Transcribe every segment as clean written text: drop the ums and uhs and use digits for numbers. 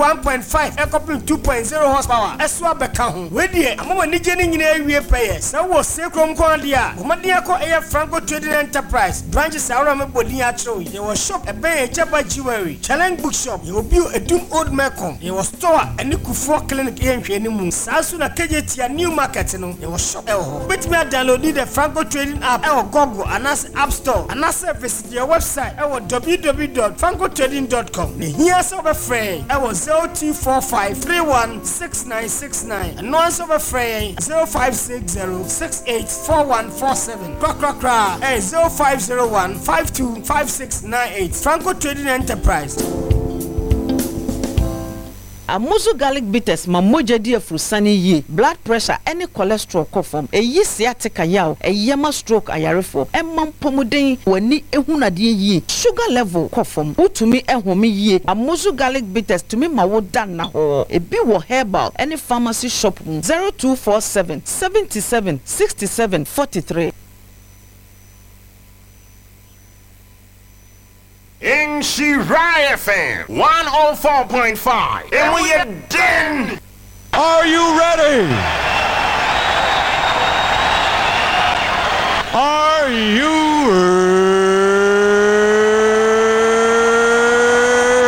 1.5 kɔpem 2.0 horsepower so abɛka ho. Wei deɛ, ama w'anigyeɛ no nyinaa awie pɛyɛ. Sɛ wowɔ Sey kurom nko ara deɛ a, bɔ mmɔden akɔ ɛyɛ Franco Trading Enterprise branches ahorow a mebɔ din akyerɛ wo yi. Yɛwɔ shop ɛbɛn Agyaba Jewelry, Challenge Bookshop, yɛwɔ bio Adum Old Melcom, yɛwɔ store a ɛne Kufuor Clinic yɛ nhwɛanimu. Saa nso na Kejetia New Market no, yɛwɔ shop wɔ hɔ. Wobɛtumi adownloadi the Franco Trading app wɔ Google anaasɛ App Store anaasɛ visit yɛn website wɔ www dot francotrading dot com. Na ehia sɛ wobɛfrɛ yɛn wɔ 0245 31 6969. Ɛno ara nso wobɛfrɛ yɛn 0560 68 4147. Korakorakora ɛyɛ 0501 52 5698. Franco Trading Enterprise. Amuzu garlic bitters ma mogya di afurusane yie, blood pressure ne cholesterol kɔ fam, ɛyi sciatica yaw, ɛyɛ ma stroke ayarefoɔ, ɛma mpɔmuden, w'ani hunu adeɛ yie, sugar level kɔ fam, wotumi home yie. Amuzu garlic bitters tumi ma wo da nnahɔɔ. Ebi wɔ herbal ne pharmacy shop mu. 0247 77 67 43. Nhyira FM 104.5, emu yɛ den! Are you ready? Are you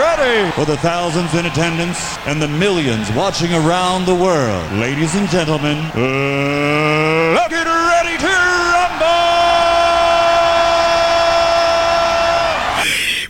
ready? For the thousands in attendance and the millions watching around the world, ladies and gentlemen, let's get ready to rumble!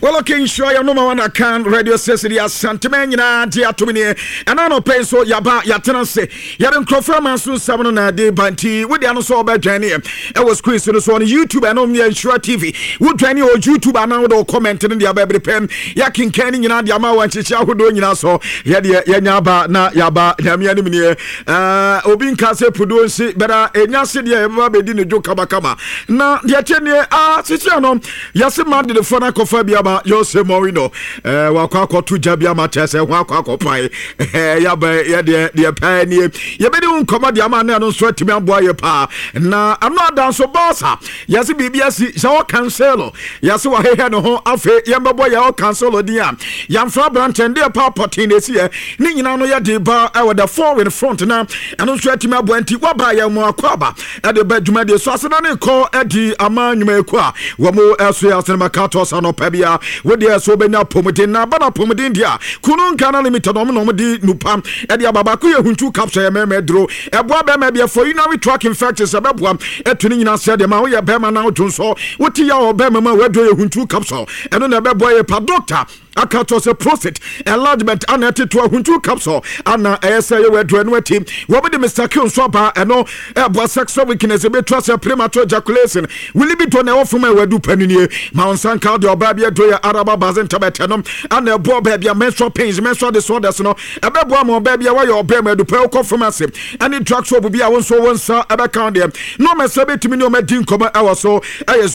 Well, okay, nhyira yɛ noma wana kan radio station yɛ asantema nyinaa gye atom neɛ ɛna anɔpɛ yi so yɛaba yɛatena ase yɛde nkurɔfoɔ ama so nsɛm no na ɛde ba nti wode ano sɛ wɔbɛdwan neɛ ɛwɔ screen so no so ɔno youtube ɛno yɛ nhyira tv wodwan ne wɔ youtube anaa wode wo comment no de aba bere pɛm yɛakenkan no nyinaa de ama wɔ nhyehyɛ ahodoɔ nyinaa so yɛdeɛ yɛnya aba na yɛaba nyame anim neɛ Uh, obi nka sɛ puduo nsi bɛda ɛnya se deɛ yɛbɛba bɛdi ne dwo kamakama na deɛ kyɛ neɛ ah, sisia no yɛse madridfoɔ no akɔfa bi ama Jose Mourinho eh, wakɔ akɔto gya bi ama kyerɛ sɛ ho akɔ akɔpae eh, yɛaba yɛdeɛ deɛ pɛɛ nie yɛbɛdi ho nkɔmmɔ deɛ ama ne ɛno nso atumi aboa yɛ paa na ɛno ada nso Barca Yɛse biribi asi Joao Cancelo Yɛse wahehɛ ne ho afei yɛmbɛbɔ Joao Cancelo din a yɛamfrɛ aberanteɛ no deɛ paa pɔtee na ɛsiiɛ ne nyinaa no yɛde ba ɛwɔ the foreign front na ɛno nso atumi aboa nti waba yɛn mo akɔ aba ɛde ba dwumadie so asena ne kɔ ɛdi ama nnwumayɛkuo a wɔn ɛso yɛ asena maka tɔ sa nɔpa bia wodeɛ ɛso wobɛnya apɔmuden na aba no apɔmuden deɛ a kunu Ghana Limited wɔn na wɔn de nupa ɛde aba baako yɛ huntu capsule yɛ mɛmɛ duro ɛboa bɛrima bi ɛfɔ urinary tract infections ɛbɛboa ɛto ne nyinaa sɛ deɛ ma woyɛ bɛrima na wodwo nsɔ wote yɛ wɔ bɛrima mu a waduro yɛ huntu capsule ɛno na ɛbɛboa yɛ pa doctor aka kyerɛ sɛ prostate enlargement ana ɛtete ahuntu capsule ana ɛyɛ sɛ yɛ waduro ɛno akyi wɔbɛde Mr. Q nso aba ɛno ɛboa sexual weakness ɛbɛtu asɛ premature ejaculation wo libido na ɛwɔ fam a wadu pa no nie ma wo nsa nka deɛ ɔbaa bi aduro yɛ araba baze ntabɛtɛ no ana ɛboa baabi a menstrual pains menstrual disorders no ɛbɛboa ma ɔbaa bi a wayɛ ɔbaa mu adupɛ wokɔ pharmacy ɛne drug shop bi a wo nso wo nsa ɛbɛka deɛ na ɔma sɛ bɛtumi ne ɔma di nkɔmmɔ ɛwɔ so ɛyɛ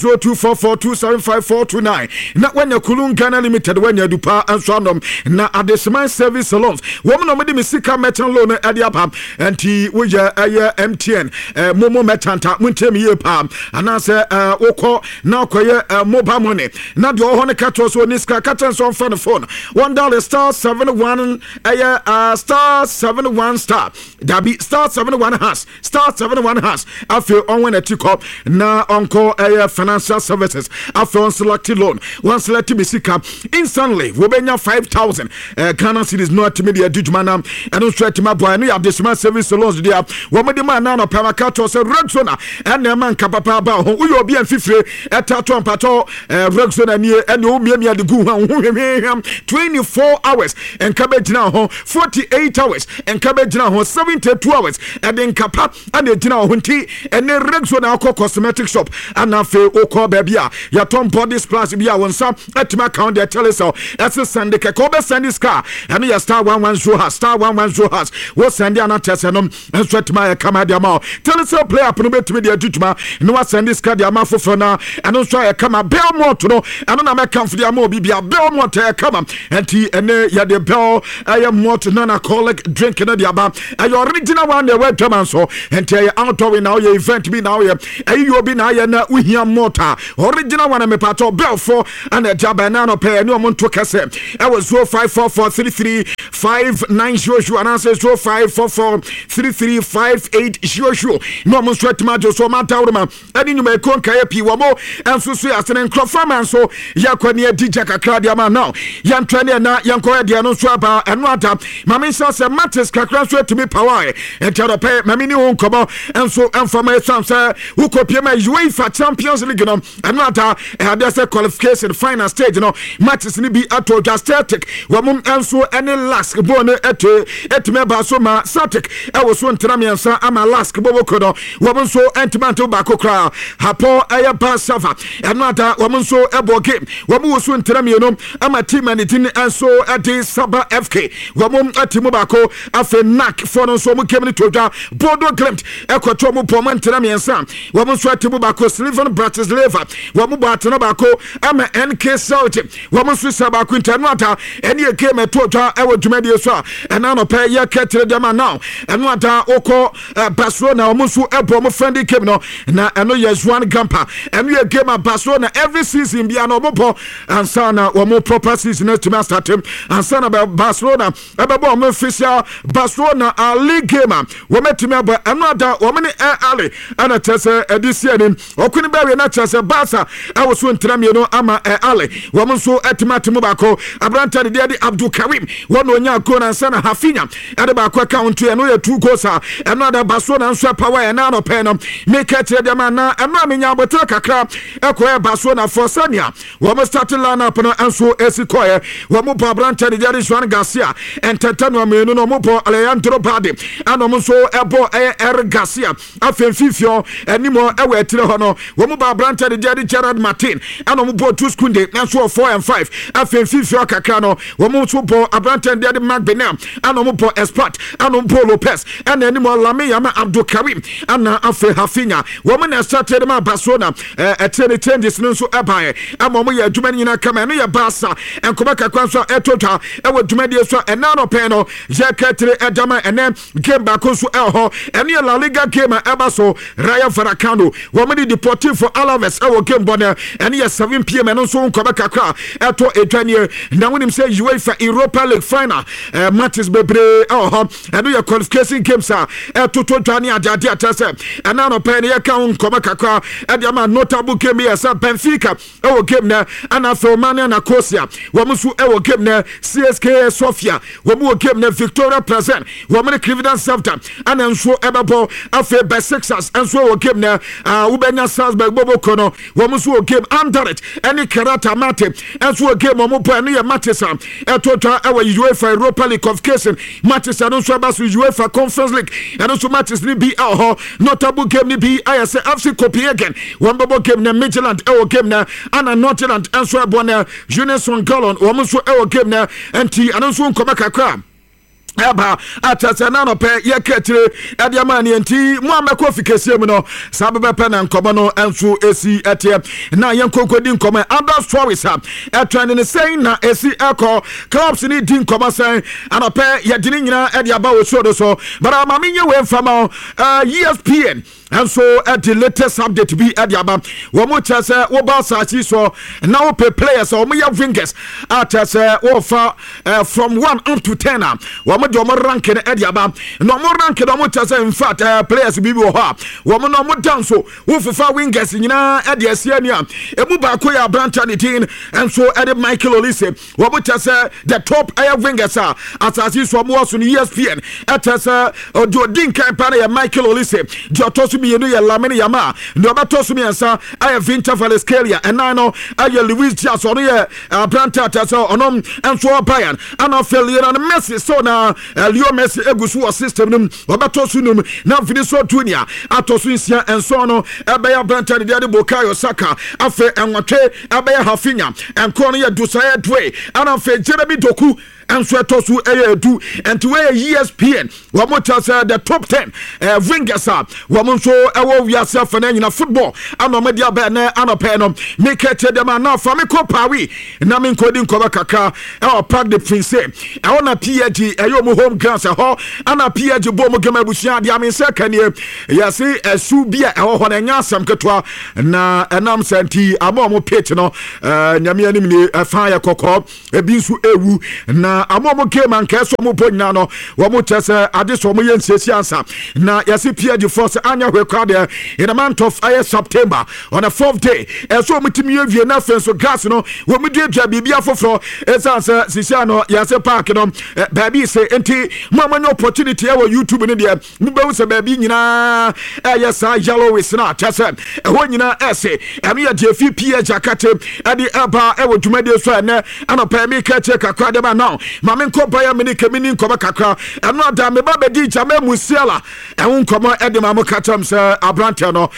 0244275429 na woanya Kulun Ghana Limited woanya adupa nso anom na Adeseman Service Salons wɔn na wɔde me sika merchant loan ɛde aba nti woyɛ ɛyɛ MTN eh, momo merchant a montie me yie paa anaasɛ eh, wokɔ na akɔyɛ eh, mobile money na deɛ ɔwɔ hɔ no ka kyerɛ sɛ ɔni sika ka kyerɛ sɛ ɔmfa ne phone wɔn dial star 71 ɛyɛ uh, star 71 star dabi star 71 hash star 71 hash afei ɔnwɛn n'akyi kɔ na ɔnkɔ ɛyɛ financial services afei ɔnselect loan wɔnselect me sika instantly wɔbɛnya 5000 eh, Ghana cedis no atumi de adi dwuma na ɛno nso atumi aboa ɛno yɛ adesoma service loans deɛ wɔn de ma ɛna anɔpɛ maka kyerɛ sɛ Rexona ɛna ɛma nka papa aba ho woyɛ obi a mfifire ɛta to mpatɔ eh, Rexona nie ɛne womiamia de gu ho a wo ho hwehwehwam 24 hours nka bɛgyina ho 48 hours nka bɛgyina ho 72 hours ɛde nka pa ɛna ɛgyina ho nti ɛne Rexona akɔ cosmetic shop ɛna afei wokɔ baabi a yɛtɔn body splash bi a wo nsa atumi aka wo deɛ telecel ɛse sɛnde kɛkɛ wobɛsɛnde sika ɛno yɛ star 110 hash star 110 hash wo sɛnde ana kyɛ sɛ nom nso atumi ayɛ kama de ama wo telecel play app no bɛtumi de adi dwuma na wasɛnde sika de ama foforɔ no ɛno nso ayɛ kama belmont no ɛno na mɛkamfo de ama obi bia belmont ɛyɛ kama ɛnti ɛne yɛde bel ɛyɛ malt non alcoholic drink no de aba ɛyɛ original one na ɛwɔ adwama nso ɛnti ɛyɛ outdoor na woyɛ event bi na woyɛ ɛyɛ obi na ayɛ na wohia malt a original one mepatɔ belfo ɛna ɛde aba ɛna anɔpɛ ɛne ɔmo nto kɛ. kɛsɛ ɛwɔ 0544335900 anaasɛ 0544335800 na ɔmo nso atumi agye so. Ɔmo adaworoma ɛne nnwumayɛkuo nkaeɛ pii wɔ mo nso so yɛ asene nkurɔfoɔ ama nso yɛkɔ ne adi gya kakra deɛ ama now yɛntrɛ ne ɛna yɛnkɔ ɛdeɛ no nso aba. Ɛno ada ma menhyɛ sɛ mates kakra nso atumi pawae, ɛnti adɔpɛ ma mene wo nkɔmmɔ nso ɛmfa ma ɛsiane sɛ wokɔpie ma UEFA Champions League no, ɛno ada ɛadeɛ sɛ qualification final stage no matches no bi ato dwa. Celtic wɔn nso ɛne LASK bɔɔl no ɛte ɛtumi ɛba so ma Celtic ɛwɔ so ntena 3 ama LASK bɔbɔko no wɔn nso ɛntumi ante baako koraa. Hapoel ɛyɛ Beer Sheva, ɛno ada wɔn nso ɛbɔ game, wɔn wɔ so ntena 2 ama team a ne din nso ɛde Saba FK, wɔn ɛte mu baako. Afei NAC foɔ no nso wɔn game no to dwa, Bodo Glimt ɛkɔtɔ wɔn bɔ wɔn ntena 3, wɔn nso ɛte mu baako. Slovan Bratislava wɔn bɔ atena baako ama NK Celtic, wɔn nso sɛ baako. Nti ɛno ada ɛne yɛ game ɛto dwa ɛwɔ dwumadie so a ɛna anɔpɛ yɛ kɛtɛrɛ deɛ now. Ɛno ada wokɔ Barcelona, wɔn nso ɛbɔ wɔn friendly game no na ɛno yɛ Joan Gamper. Ɛno yɛ game a Barcelona every season bia na wɔn bɔ ansa na wɔn proper season atumi astart, ansa na Barcelona ɛbɛbɔ wɔn official Barcelona league game a wɔn atumi abɔ. Ɛno ada wɔn ne Al Ahly ɛna kyerɛ sɛ ɛde si anim ɔko no bɛwie na kyerɛ sɛ Barca ɛwɔ so ntena 2 ama Al Ahly, wɔn nso atumi ate mu baako. Aberante de deɛ de Abdul Karim wɔn na onya goal nansa na Raphinha ɛde baako ɛka ho, nto ɛno yɛ two goals a ɛno ada Barcelona nso ɛpawa. Ɛna anɔpɛ no meka kyerɛ deɛ ma na ɛno a menya abotire kakra ɛkɔɛ Barcelona fɔ sɛnea wɔn starting line up no nso esi kɔɛ. Wɔn bɔ aberante de deɛ de Joan Garcia ntɛntɛ no mmienu no, wɔn bɔ Alejandro Balde ɛna wɔn nso ɛbɔ ɛyɛ Eric Garcia. Afei mfimfini anim ɛwɔ akyire hɔ no, wɔn bɔ aberante de deɛ de Gerard Martin ɛna wɔn bɔ Jules Kounde nso wɔ four and five. Afei mfimfini kakra no, wɔn nso bɔ aberante de deɛ de Marc Bernal ɛna wɔn bɔ Espart ɛna wɔn bɔ Lopez ɛna anim Lamine Yamal, Abdul Karim ɛna afei Raphinha. Wɔn na ɛsɛ de ma Barcelona. Ɛkyerɛ ne changes no nso ɛbaeɛ ɛma wɔn yɛ adwuma no nyinaa kama. Ɛno yɛ Barca nkɔmɔ kakra nso a ɛtɔ dwa ɛwɔ dwumadie so a ɛna anɔpɛ no yɛka tire ɛdama. Ɛnɛ game baako nso ɛwɔ hɔ, ɛno yɛ La Liga game a ɛba so. Rayo Vallecano wɔn de Deportivo Alaves ɛwɔ game bɔ no, ɛno yɛ 7 p.m. Ɛno nso nkɔmɔ kakra ɛtɔ edwa nie. Na wɔnim sɛ UEFA Europa League final matches bebree ɛwɔ hɔ. Ɛno yɛ qualification games a ɛtoto dwa ne adeade akyɛ sɛ ɛna anɔpɛ no yɛka ho nkɔmɔ kakra ɛde ama. Notable game yɛ sɛ Benfica ɛwɔ game nɛ, ɛna afei Omonia Nicosia wɔn nso ɛwɔ game nɛ, CSKA Sofia wɔn wɔ game nɛ, Viktoria Plzen wɔn ne Crvena Zvezda ɛna nso ɛbɛbɔ. Afei Besiktas nso ɛwɔ game nɛ, wobɛnya Salzburg bɔbɔ no, wɔn nso wɔ game. Anderlecht ɛne Kairat Almaty nso wɔ game wɔn bɔ. Ɛno yɛ matches a ɛto dwa ɛwɔ UEFA Europa League qualification matches. Ɛno nso ɛba so UEFA Conference League, ɛno nso matches ne bi ɛwɔ hɔ. Notable game ne bi ayɛ sɛ FC Copenhagen wɔn bɛbɔ game na Midtjylland ɛwɔ game na ana Nordsjælland nso ɛbɔ na Union Saint-Gallen wɔn nso ɛwɔ game na. Nti ɛno nso nkɔmɔ kakra ɛba akyɛ sɛ na anɔpɛ yɛka akyire ɛde ama neɛ. Nti mo a mɛkɔ fi kɛseɛ mu no saa bɛbɛpɛ na nkɔmmɔ no nso ɛsi ɛteɛ na yɛnkɔnkɔdi nkɔmmɔ. Other stories a ɛtrend ne sɛn na ɛsi ɛkɔ, clubs ne di nkɔmmɔ sɛn, anɔpɛ yɛde ne nyinaa ɛde aba wɔ show no so. But ma menyɛ wei mfama ESPN nso ɛde latest update bi ɛde aba. Wɔn kyerɛ sɛ wɔba asase so na wɔpɛ players a wɔn yɛ wingers a kyerɛ sɛ wɔfa from 1 up to 10 a wɔn de wɔn rank no ɛde aba. Na wɔn rank no, wɔn kyerɛ sɛ in fact players bi wɔ hɔ a wɔn na wɔn dan so wofofa wingers nyinaa ɛde asi ani a emu baako yɛ aberante ne din nso ɛde Michael Olise. Wɔn kyerɛ sɛ the top ɛyɛ wingers a asase so wɔn wɔ so no, ESPN ɛkyerɛ sɛ ɔde odi nkan pa no yɛ Michael Olise, deɛ ɔtɔ so mmienu yɛ Lamine Yamal, deɛ ɔbɛtɔ so mmiɛnsa ɛyɛ Khvicha Kvaratskhelia, ɛnan no ɛyɛ Luis Diaz, ɔno yɛ aberante a kyerɛ sɛ ɔno nso wɔ Bayern, ɛna afei Lionel Messi so na Leo Messi egu so wɔ system no mu, ɔbɛtɔ so num, na Vinicius Junior atɔ so nsia, nson no ɛbɛyɛ aberante de deɛ de Bukayo Saka, afei ɛnwɔtwe ɛbɛyɛ Raphinha, nkron no yɛ Désiré Doué, ɛna afei Jeremy Doku. Nso ɛtɔ so ɛyɛ 10. Nti wɔyɛ ESPN, wɔn kyerɛ sɛ the top 10 wingers a wɔn nso ɛwɔ wiase afɛ no nyina football ana wɔn de aba ɛnɛ anɔpɛ no. Meka kyerɛ dɛm a na fa me kɔ Paris na me nkɔdi nkɔmɔ kakra ɛwɔ Parc de Prince. Ɛhɔ na PSG ɛyɛ wɔn home grounds, ɛhɔ ana PSG bɔ wɔn game. Abusua adeɛ ame nsa kanie, yɛse ɛsu bi a ɛwɔ hɔ no ɛnyɛ asɛm ketewa, na ɛnam sɛ nti ama wɔn pitch no Nyame anim nie, ɛfa yɛ kɔkɔɔ, ebi nso ewu, na ama ɔmo game anka ɛsɛ ɔmo bɔ nyinaa no, wɔn kyɛ sɛ ade sɛ ɔmo yɛ nsiesie ansa na yɛsi PSG foɔ sɛ anya hwɛ kora deɛ, in the month of ɛyɛ September, on the fourth day, ɛsɛ ɔmo tumi yɛ wie, na afei nso grass no wɔn duadua biribi afoforɔ, ɛsan sɛ sisi ano yɛsɛ park no baabi sɛ. Nti mo a mo anya opportunity ɛwɔ YouTube no deɛ, mobɛhu sɛ baabi nyinaa ɛyɛ saa yellowish no a kyɛ sɛ ɛhɔ nyinaa ɛse. Ɛno yɛ deɛ fi PSG akate ɛde ɛba ɛwɔ dwumadie so ɛnɛ anɔpɛ. Meka kyerɛ kakra de ma now, ma menkɔ Bayern Munich, meni nkɔmɔ kakra. Ɛno ada meba bɛdi Jamal Musiala ɛho nkɔmɔ ɛde ma mo. Ka kyerɛm sɛ aberanteɛ no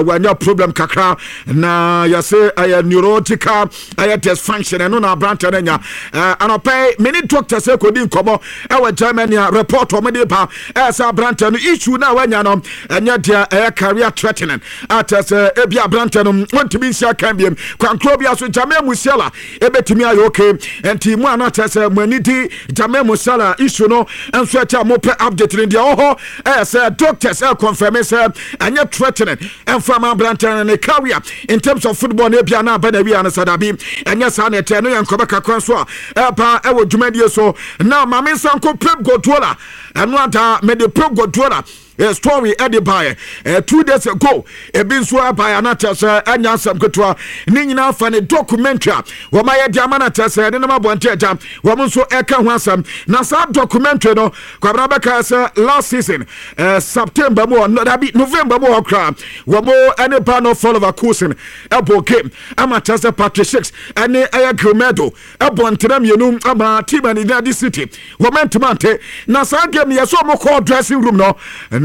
wanya problem kakra, na yɛse ɛyɛ neurological ɛyɛ dysfunction. Ɛno na aberanteɛ no anya. Anɔpɛ mene doctor sɛ kɔdi nkɔmɔ ɛwɔ Germany a report ɔmo de ba ɛyɛ sɛ aberanteɛ no issue no a wanya no ɛnyɛ deɛ ɛyɛ career threatening, akyɛ sɛ ebi aberanteɛ no wɔntumi nsi akan biem kwankoro bi aso. Jamal Musiala ɛbɛtumi ayɛ okay. Nti mu a na kyerɛ sɛ mo ani di Jamal Musiala issue no nso ɛkyɛ a mopɛ update no deɛ, ɛwɔ hɔ ɛyɛ sɛ doctors ɛ confirm sɛ ɛnyɛ threatening ɛmfa ma aberanteɛ no ne career in terms of football no. Ebia na aba na awia no sɛ dabi, ɛnyɛ saa na ɛkyɛ no. Yɛ nkɔbɛ kakra nso a ɛba ɛwɔ dwumadie so na maame nsa nko Pep Guardiola. Ɛno ada mede Pep Guardiola story ɛde baeɛ 2 days ago, ebi nso ɛbaeɛ anakyɛ sɛ ɛnya asɛm ketewa ne nyinaa fa ne documentary a wɔn ayɛ de ama no kyɛ sɛ ɛde nam abɔnten agya wɔn nso ɛka ho asɛm. Na saa documentary no, Kwabena, bɛka sɛ last season September mu hɔ, dabi, November mu hɔ koraa, wɔn ɛne Bayer Leverkusen ɛbɔ game ama kyɛ sɛ Patrick Schick ɛne ɛyɛ Grimaldo ɛbɔ ntena mmienu ama team a ne de City wɔn ntoma nte. Na saa game yɛ sɛ wɔn kɔɔ dressing room no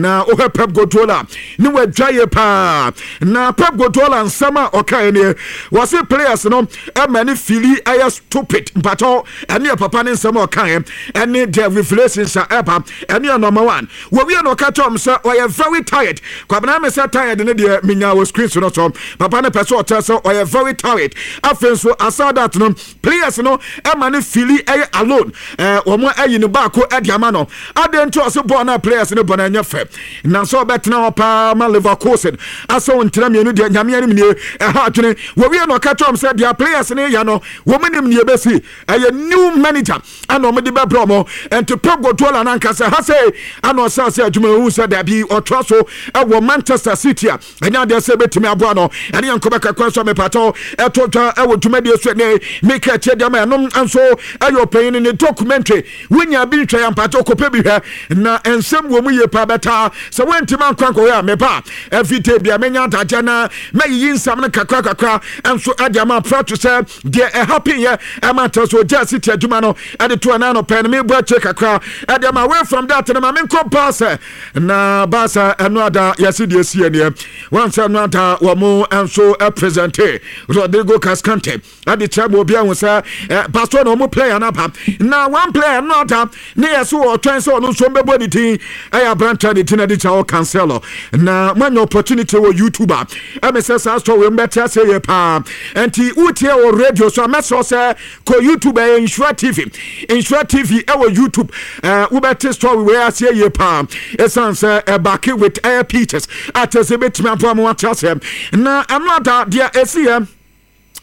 na wohɛ Pep Guardiola ne wadwa yie paa. Na Pep Guardiola nsɛm a ɔkae nie, wɔse players no ɛma ne feel ɛyɛ stupid. Mpatɔ, ɛne yɛ papa ne nsɛm a ɔkae ɛne the revelations a ɛba. Ɛne yɛ number one, wɔwie na ɔka kyerɛ wɔn sɛ ɔyɛ very tired. Kwabena, me sɛ tired ne deɛ menya wɔ screen so no so, papa ne pɛ sɛ ɔkyerɛ sɛ ɔyɛ very tired. Afei nso aside that no, players no ɛma ne feel ɛyɛ alone. Wɔn ayi ne baako ɛde ama no adeɛ nti ɔsɛ bɔɔl na players no bɔ no ɛnyɛ fɛ, na sɛ ɔbɛtena hɔ paa ma Leverkusen asɛ wɔn ntena mmienu deɛ, Nyame anim nie, ɛha adwene. Wɔwie na ɔka kyerɛ wɔn sɛ deɛ players no yɛ no, wɔn nim nie bɛsi ɛyɛ new manager ɛna wɔn de bɛbrɛ wɔn. Nti Pep Guardiola nankasa ha sɛ ɛna ɔsɛ ase adwuma ehu sɛ dabi, ɔtoa so ɛwɔ Manchester City a ɛnyɛ adeɛ sɛ ɛbɛtumi aboa no. Ɛne yɛn nkɔbɛ kakra nso a mepatɔ ɛto dwa ɛwɔ dwumadie so ɛnɛ meka akyire deɛ ma ɛnom nso ɛyɛ ɔpanyin ne documentary. Wonya bi nhwɛ yɛ mpatɔ, kɔpɛ bi hwɛ, na nsɛm wɔ mu yie paa. Bɛtaa sɛ woantimi ankɔ ankɔhwɛ a, meba everyday bia menya adagya na mɛyiyi nsɛm no kakra kakra nso ɛde ama prato sɛ deɛ ɛha peyɛ ɛma nkyerɛ sɛ ɔgya City adwuma no ɛde to ɛna anɔpɛ no. Mebɔ akyire kakra ɛde ama. Away from that no, ma menkɔ Barca. Na Barca, ɛno ada yɛse deɛ sie neɛ wansɛ ɛno ada wɔ mo nso present Rodrigo Cascante ɛde kyerɛ ma obi ahu sɛ Barcelona ɔmo player no aba. Na one player no ada ne yɛ so ɔtwɛn sɛ ɔno nso mbɛbɔ ne din, ɛyɛ aberanteɛ ne din ɛde kyerɛ Cancelo. Na moanya opportunity wɔ YouTube a, ɛmɛ sɛ saa story mbɛte ase yɛ paa. Nti wotie wɔ radio so a, mɛsrɛ sɛ kɔ YouTube, ɛyɛ Nhyira TV, Nhyira TV ɛwɔ YouTube. Wobɛte story wei aseɛ yie paa, ɛsiane sɛ ɛback with ɛyɛ pictures a kyerɛ sɛ ɛbɛtumi aboa ma wate aseɛ. Na ɛno ada deɛ ɛsi yɛ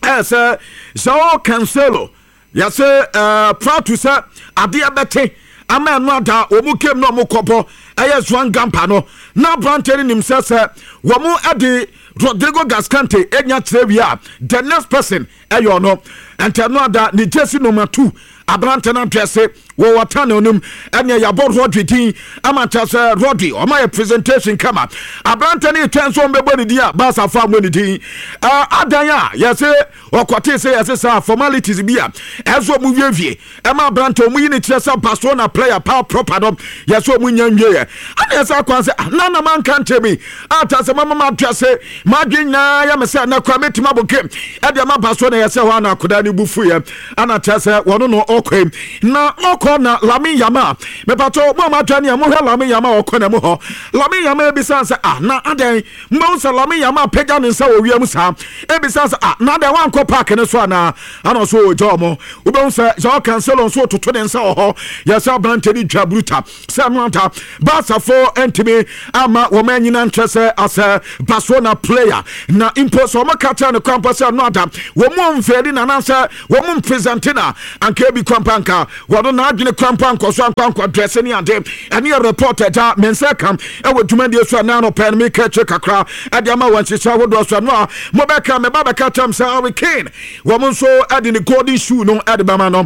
ɛyɛ sɛ Joao Cancelo, yɛsɛ proud to sɛ adeɛ bɛte ama ɛno ada wɔn game na wɔn kɔbɔ ɛyɛ Joan Gamper no, na aberanteɛ no nim sɛ wɔn ɛde Rodrigo Cascante enya kyerɛ wie a, the next person ɛyɛ ɔno. Nti ɛno ada ne jersey number 2 aberante no adrɛse. Wɔwɔ tunnel no mu ɛneɛ yɛabɔ Rodri din ama kyerɛ sɛ Rodri ɔma yɛ presentation kama. Aberantɛ no retwɛn sɛ ɔmbɛbɔ ne din a Barca fa mmɔ ne din. Adan a yɛse ɔkɔtee sɛ yɛse saa formalities bi a ɛsɛ ɔmo wiewie ɛma aberantɛ ɔmo yi ne kyerɛ sɛ Barcelona player paa proper no yɛsɛ ɔmo nya nwieɛ. Ana yɛsɛ akwan sɛ ah, na na manka nkyerɛ mi ata sɛ mama mato ase madwe nyinaa yɛ me sɛ na kora mɛtumi abɔ game ɛde ama Barcelona. Yɛsɛ hɔ ana akodaa no bu fuiɛ ana kyerɛ sɛ wɔno no ɔkɔ na ɔkɔ na Lamine Yamal mepatɔ mo a moatwa ne a mohwɛ Lamine Yamal ɔkɔ na mu hɔ. Lamine Yamal ebisa sɛ ah, na adɛn mbɛhu sɛ Lamine Yamal pagya ne nsa wɔ wiem saa ebisa sɛ ah, na adɛn wankɔ park ne so anaa ana ɔso ɔgya ɔmo. Wobɛhu sɛ Joao Cancelo nso toto ne nsa wɔ hɔ. Yɛsɛ aberante ne dwa bruta sɛ no anta Barcafoɔ ntumi ama wɔn anyina nkyerɛ sɛ asɛ Barcelona player na mpo sɛ wɔn ka kyerɛ no kwan mpo sɛ no ada wɔn mu mfɛɛli na anaasɛ wɔn mu mpresente na anka ebi kwan pa anka wɔn n'adwene kwan pa nkɔ so ankɔ ankɔ drɛse ne ade. Ɛne yɛ report agya me nsa ka ɛwɔ dwumadie so a na anɔpɛ no meka akyire kakra ɛde ama wɔn nhyehyɛ ahodoɔ so. Ɛno a mobɛka meba bɛka kyɛm sɛ Harry Kane wɔn nso ɛde ne golden shoe no ɛde bɛma no.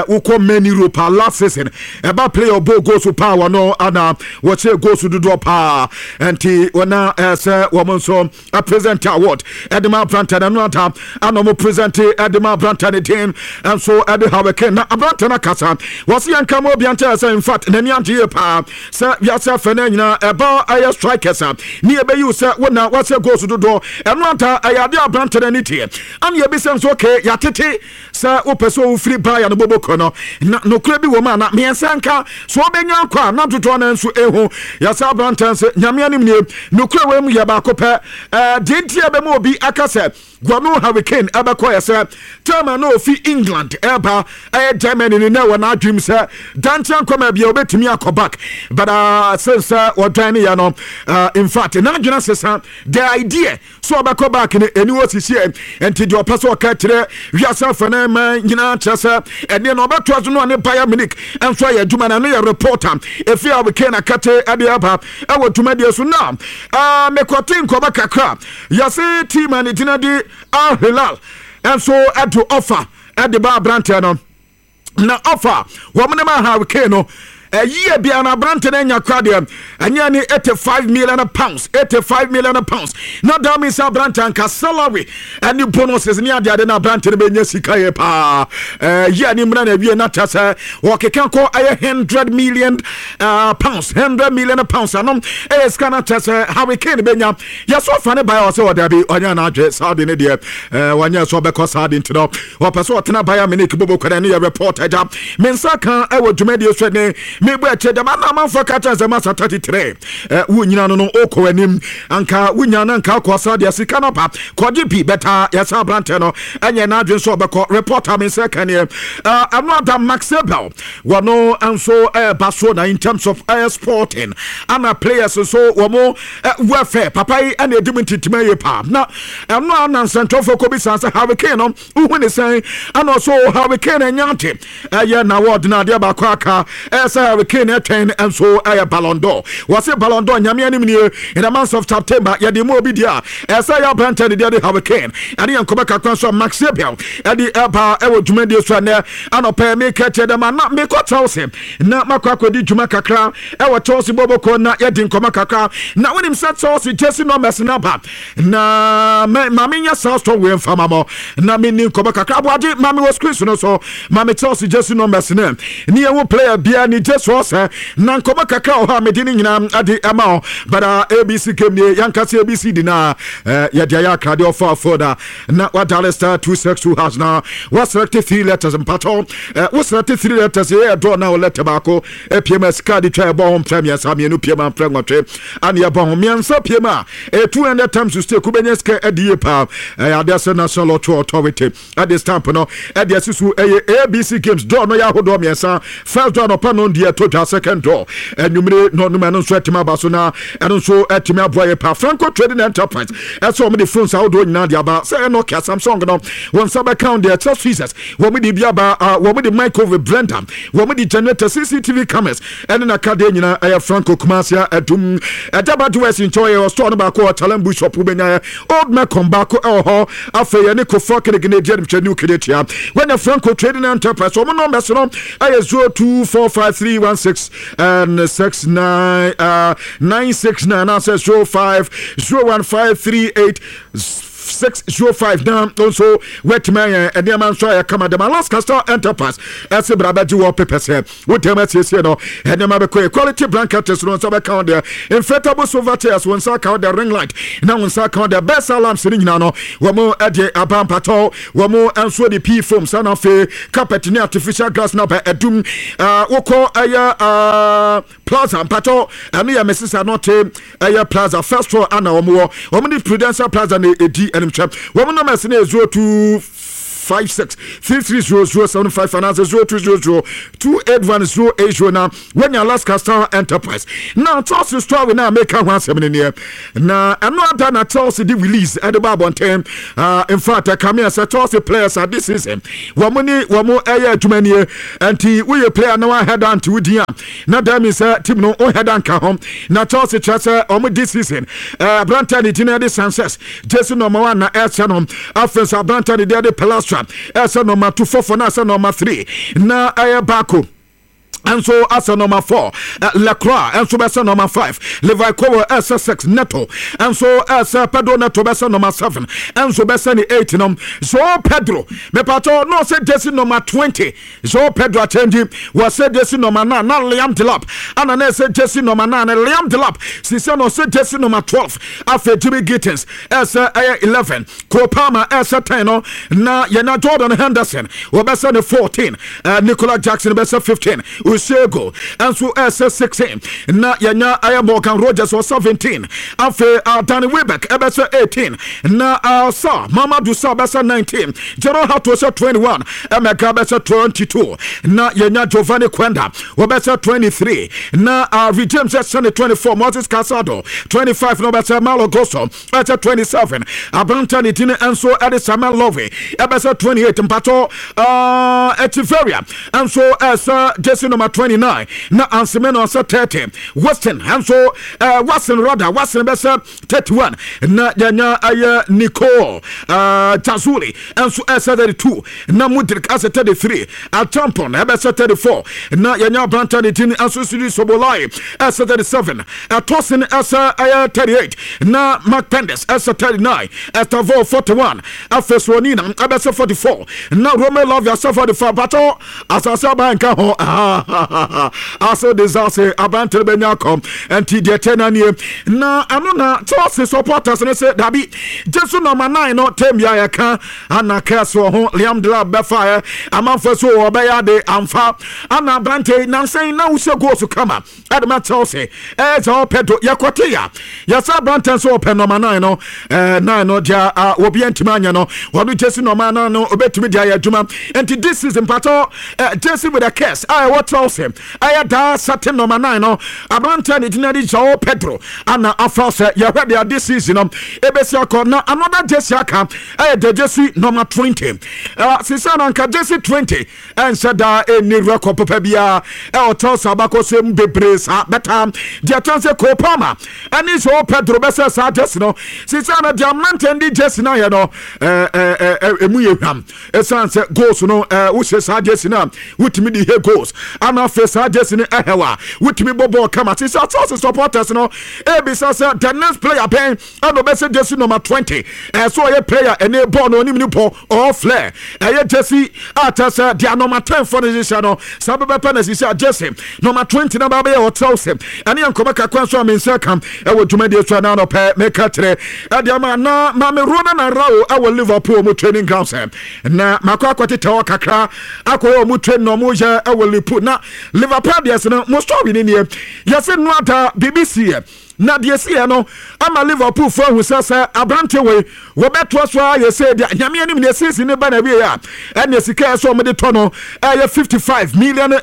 Wokɔ Man Europe last season ɛba player ɔbɔ goals paa wɔn ana wɔkyerɛ goals dodoɔ paa nti wɔna ɛsɛ wɔn nso present award ɛde ma aberantɛ no. Ɛno ata ana ɔmo present ɛde ma aberantɛ no din nso ɛde Harry Kane na aberantɛ no akasa wɔsi yɛn nka ma obi ankyɛ sɛ in fact n'ani agye yie paa sɛ wiase afɛ no nyinaa ɛba ɛyɛ strikers a ne yɛbɛyi wo sɛ wo na wasɛ goals dodoɔ. Ɛno ata ɛyɛ adeɛ aberantɛ no ani teɛ ana yɛbisa nso okay yɛatete sɛ wopɛ sɛ wofiri baeɛ no bɔbɔkɔ no na nokorɛ bi wɔ mu ana mmiɛnsa nka so wobɛnya akɔ a na dodoɔ no nso ɛhu. Yɛsɛ aberantɛ sɛ Nyame anim nie, nokorɛ wɔ mu yɛ baako pɛ. Deɛ nti a bɛma obi aka sɛ Guano Harry Kane ɛbɛkɔ yɛ sɛ tɛma na ofi England ɛba ɛyɛ Germany no na ɛwɔ n'adwene sɛ dankyɛ nkɔma bia obɛtumi akɔ back, but since sɛ wɔdwan ne yɛ no, in fact n'adwene sesa the idea so ɔbɛkɔ back no ɛni wɔ sisiɛ. Nti deɛ ɔpɛ sɛ ɔka kyerɛ wiase afa no ma nyinaa kyerɛ sɛ ɛneɛ na ɔbɛtoa so no ɔne Bayern Munich nso ayɛ adwuma no. Ɛno yɛ reporter ɛfi Harry Kane akate ɛde aba ɛwɔ dwumadie so. Na mekɔte nkɔmɔ kakra yɛse team a ne gyina di Al Hilal nso ɛde offer ɛde ba aberanteɛ no na offer wɔn ne ma Harry Kane no ɛyie bia na aberante no anya kora deɛ ɛnyɛ ne £85 million, £85 million. Na that means aberante anka salary ɛne bonuses ne adeade na aberante no bɛnya sika yɛ paa. Yie ne mmerɛ na awie na kyɛ sɛ wɔkeka kɔ ɛyɛ £100 million, £100 million anom ɛyɛ sika na kyɛ sɛ Harry Kane bɛnya. Yɛsɛ ɔfa ne baeɛ ɔsɛ ɔdabi ɔnyɛ n'adwe saa de ne deɛ wɔnyɛ sɛ ɔbɛkɔ saa de nti no ɔpɛ sɛ ɔtena Bayern Munich bobo kwan. Ne yɛ report agya me nsa ka ɛwɔ dwumadie so ne mebɔ akyire dɛm ana amanfoɔ ka kyerɛ sɛ masa 33 wo nyina no wokɔ anim anka wonya no anka akɔ sa deɛ sika no ba kɔgye bi bɛtaa. Yɛsɛ aberantɛ no ɛnyɛ n'adwene sɛ ɔbɛkɔ. Report a me nsa ka neɛ ɛno ada Max Eberl wɔno nso ɛɛba so na in terms of sporting ana players nso wɔn welfare papa yi ɛna edi mu ntintim yie paa. Na ɛno a na nsɛntwerɛfoɔ kɔ bi san sɛ Harry Kane no wohu ne sɛn ana ɔso Harry Kane ɛnya ate ɛyɛ na wɔde no adeɛ baako aka ɛyɛ sɛ Harry Kane ɛtwɛn nso ɛyɛ Ballon d'Or. Wɔse Ballon d'Or Nyame anim nie in the month of September yɛde mu obi deɛ a ɛsɛ yɛ aberantɛ ne deɛ de Harry Kane. Ɛne yɛn nkɔmɔ kakra nso a Max Eberl ɛde ɛba ɛwɔ dwumadie so ɛnɛ anɔpɛ. Meka kyerɛ dɛm ana mekɔ Chelsea na makɔ akɔdi dwuma kakra ɛwɔ Chelsea bɔbɔkɔ na yɛdi nkɔmɔ kakra. Na wonim sɛ Chelsea jersey numbers no aba na ma menyɛ saa sɔ wei mfa ma mɔ na menni nkɔmɔ kakra. Aboagye ma me wɔ screen so no so ma me Chelsea jersey numbers no ne yɛhu player biara ne jersey ɔsɛ na nkɔmɔ kakra wɔ hɔ a mede ne nyinaa ade ɛma wo. But ABC game nie yɛnka sɛ ABC di na yɛde ayɛ akradeɛ ɔfa phone a na wadial *262# na waselect three letters. Mpatɔ wo select three letters yɛ ɛdɔ na wo letter baako apiem a sika de twa ɛbɔ ho mprɛ mmiɛnsa, mmienu piem a mprɛ nwɔtwe ane ɛbɔ ho mmiɛnsa piem a ɛyɛ 200 times to stake. Wobɛnya sika adi yie paa. Ɛyɛ adeɛ sɛ National Lottery Authority ɛde stamp no ɛde asi so. Ɛyɛ ABC games draw no yɛ ahodoɔ mmiɛnsa. First draw nɔpa no deɛ ɛtɔ dwa second door anwummere nɔnum. Ɛno nso atumi aba so na ɛno nso atumi aboa yɛ pa. Franco Trading Enterprise ɛsɛ wɔn de phones ahodoɔ nyinaa de aba, sɛ Nokia, Samsung no, wɔn nsa bɛka wɔn deɛ ɛkyɛ tweezers, wɔn de bi aba, wɔn de microwave, blender, wɔn de generator, CCTV cameras ɛne n'akadeɛ nyinaa. Ɛyɛ Franco, Kumasi Adum, ɛgyaba duwɛs nkyɛn. Yɛ store no baako wɔ Chalambu shop, wobɛnya yɛ Old Mecom baako ɛwɔ hɔ. Afei yɛne Kofoɔ Kenege ne edi animhwɛ New Kejetia. Wɔnyɛ Franco Trading Enterprise. Wɔn numbers no ɛyɛ 0245316 and 69 969 anaasɛ 0501538 605 na nso wetumi ayɛ nneɛma nso ayɛ kama dɛm. Alaska Star Enterprise ɛsɛ bra bɛgye wɔ pepɛ sɛ wotɛm asiesie no, nneɛma bɛkɔ yɛ. Quality blankets no nsa bɛka wo deɛ, inflatable sofa chairs wo nsa ka wo deɛ, ring light na wo nsa ka wo deɛ, best alarms no nyinaa no wɔn ɛde aba. Mpatɔ wɔn nso de pea foam sa na afei carpet ne artificial grass na bɛ ɛdum. Wokɔ ɛyɛ Plaza, mpatɔ ɛno yɛ Mrs Anɔte, ɛyɛ Plaza first floor ana wɔn wɔ. Wɔn de Prudential Plaza na edi ɛnimhwɛ. Wɔn numbers no yɛ 0256330075 anaasɛ 0200281080 na wɔnya Alaska Star Enterprise. Na Chelsea story na meka ho asɛm no neɛ na ɛno ada na Chelsea de release ɛde ba abɔnten. In fact, ɛkame sɛ Chelsea players a this season wɔn ne wɔn ɛyɛ adwuma nie. Nti woyɛ player na wahɛda nti wodin a na that means sɛ team no wohɛda nka ho. Na Chelsea kyerɛ sɛ wɔn this season, aberante ne din de Sanchez, jersey number 1 na ɛsɛ no. Afei nso aberante ne deɛ de Palestra ɛsɛ number 2 fɔfɔ na ɛsɛ number 3 na ɛyɛ baako nso asɛ number 4, Lecroix nso bɛsɛ number 5, Levi Colwill ɛsɛ 6, Neto nso ɛsɛ, Pedro Neto bɛsɛ number 7, nso bɛsɛ ne 8 no. So Pedro mepatɔ no sɛ jersey number 20. So Pedro akyɛngyi wɔsɛ jersey number 9 na Liam Delap ana na ɛsɛ jersey number 9. Liam Delap sisɛ na ɔsɛ jersey number 12. Afei Jimmy Gittins ɛsɛ ɛyɛ 11, Cole Palmer ɛsɛ 10 no na yɛna Jordan Henderson wɔbɛsɛ ne 14, Nicola Jackson bɛsɛ 15, Usiego nso ɛsɛ 16 na yɛnya ɛyɛ Morgan Rogers wɔ 17. Afei Danny Welbeck ɛbɛsɛ 18 na Sa Mamadou Sa bɛsɛ 19, Jorrel Hato sɛ 21, Emeka bɛsɛ 22 na yɛnya Giovanni Quenda wɔbɛsɛ 23 na James ɛsɛ ne 24, Moses Caicedo 25 na wɔbɛsɛ, Malo Gusto ɛsɛ 27, aberanta ne din nso ɛde Samuel Love ɛbɛsɛ 28. Mpatɔ Echeverria nso ɛsɛ jersey number 29 na Ansemeno sɛ 30, Weston nso Watson rather, Watson bɛsɛ 31 na yɛnya ɛyɛ Nicole Jazuli nso ɛsɛ 32 na Mudrik asɛ 33, Achampon ɛbɛsɛ 34 na yɛnya aberanta ne din nso Sidi Sobolai ɛsɛ 37, Ɛtɔsen ɛsɛ ɛyɛ 38 na Mark Pendes ɛsɛ 39, Estevao 41, afei Slonina ɛbɛsɛ 44 na Romeo Lavia sɛ 45. Batɔ asase aban nka ho ase desase aberantere bɛnya akɔ. Nti deɛ kyɛ na nie na ɛno na Chelsea supporters ne sɛ dabi, jersey number 9 no tɛm bi a yɛka ana kɛse wɔ ho. Liam Delap bɛfaeɛ, amanfoɔ so wɔbɛyɛ ade amfa ana aberante nansɛn na wohyɛ goals kama ɛde ma Chelsea. Ɛyɛ sɛ ɔpɛ do yɛkɔte ya yɛsɛ aberante nso ɔpɛ number 9 no, 9 no deɛ obi ntumi anyɛ no, wɔde jersey number 9 no obɛtumi de ayɛ adwuma. Nti this season, mpatɔ, jersey with a curse a ɛwɔ Chelsea ɛyɛ daa certain number 9 no, aberante ne gyina de Joao Pedro ana afa sɛ yɛhwɛ deɛ this season no ebesi akɔ. Na another jersey aka ɛyɛ the jersey number 20. Sisa na nka jersey 20 ɛnhyɛ daa ɛnni record papa biara ɛwɔ Chelsea abakɔsɛm bebree saa bɛta deɛ kyɛn sɛ Cole Palmer ɛne Joao Pedro bɛsɛ saa jersey no. Sisa na deɛ mmeranteɛ de jersey no ayɛ no ɛmu yɛ hwam, ɛsiane sɛ goals no wohyɛ saa jersey no a wotumi de hɛ goals ana afei saa jersey no ɛhɛw a wotumi bɔ bɔɔl kama. Sisa Chelsea supporters no ebisa sɛ the next player bɛn ɛna ɔbɛsɛ jersey number 20, ɛsɛ ɔyɛ player ɛne bɔɔl no onim ne bɔ ɔɔ flair ɛyɛ jersey a kyerɛ sɛ deɛ number 10 fɔ no hyehyɛ no saa bɛbɛpɛ na sisi a jersey number 20 na ba bɛyɛ ɔtrɛw sɛ ɛne yɛ nkɔmɔ kakra nso a me nsa ka ɛwɔ dwumadie so ɛna anɔpɛ meka kyerɛ ɛde ama na maame Ronald Arao ɛwɔ Liverpool mu training ground sɛ na makɔ akɔtetɛ hɔ kakra akɔyɛ ɔmo train na ɔmo yɛ ɛwɔ Liverpool na Na Liverpool deɛ no mo story ne nie. Yɛsɛ no ada biribi siiɛ na deɛ siiɛ no ama Liverpool fo ahu sɛ aberante wei wɔbɛtoa so a yɛsɛ deɛ Nyame anim deɛ season ne ba na wie a, ɛne sika ɛsɛ ɔmode tɔ no ɛyɛ €55 million no,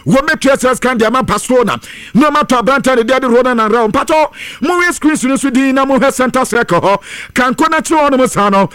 wɔmɛtua sɛ sika de ama Barcelona na ɔmatɔ aberante ne deɛ de Ronald Araujo. Mpatɔ mowe screens no so din na mohwɛ center circle hɔ kanko no akyerɛ hɔ nom saa no,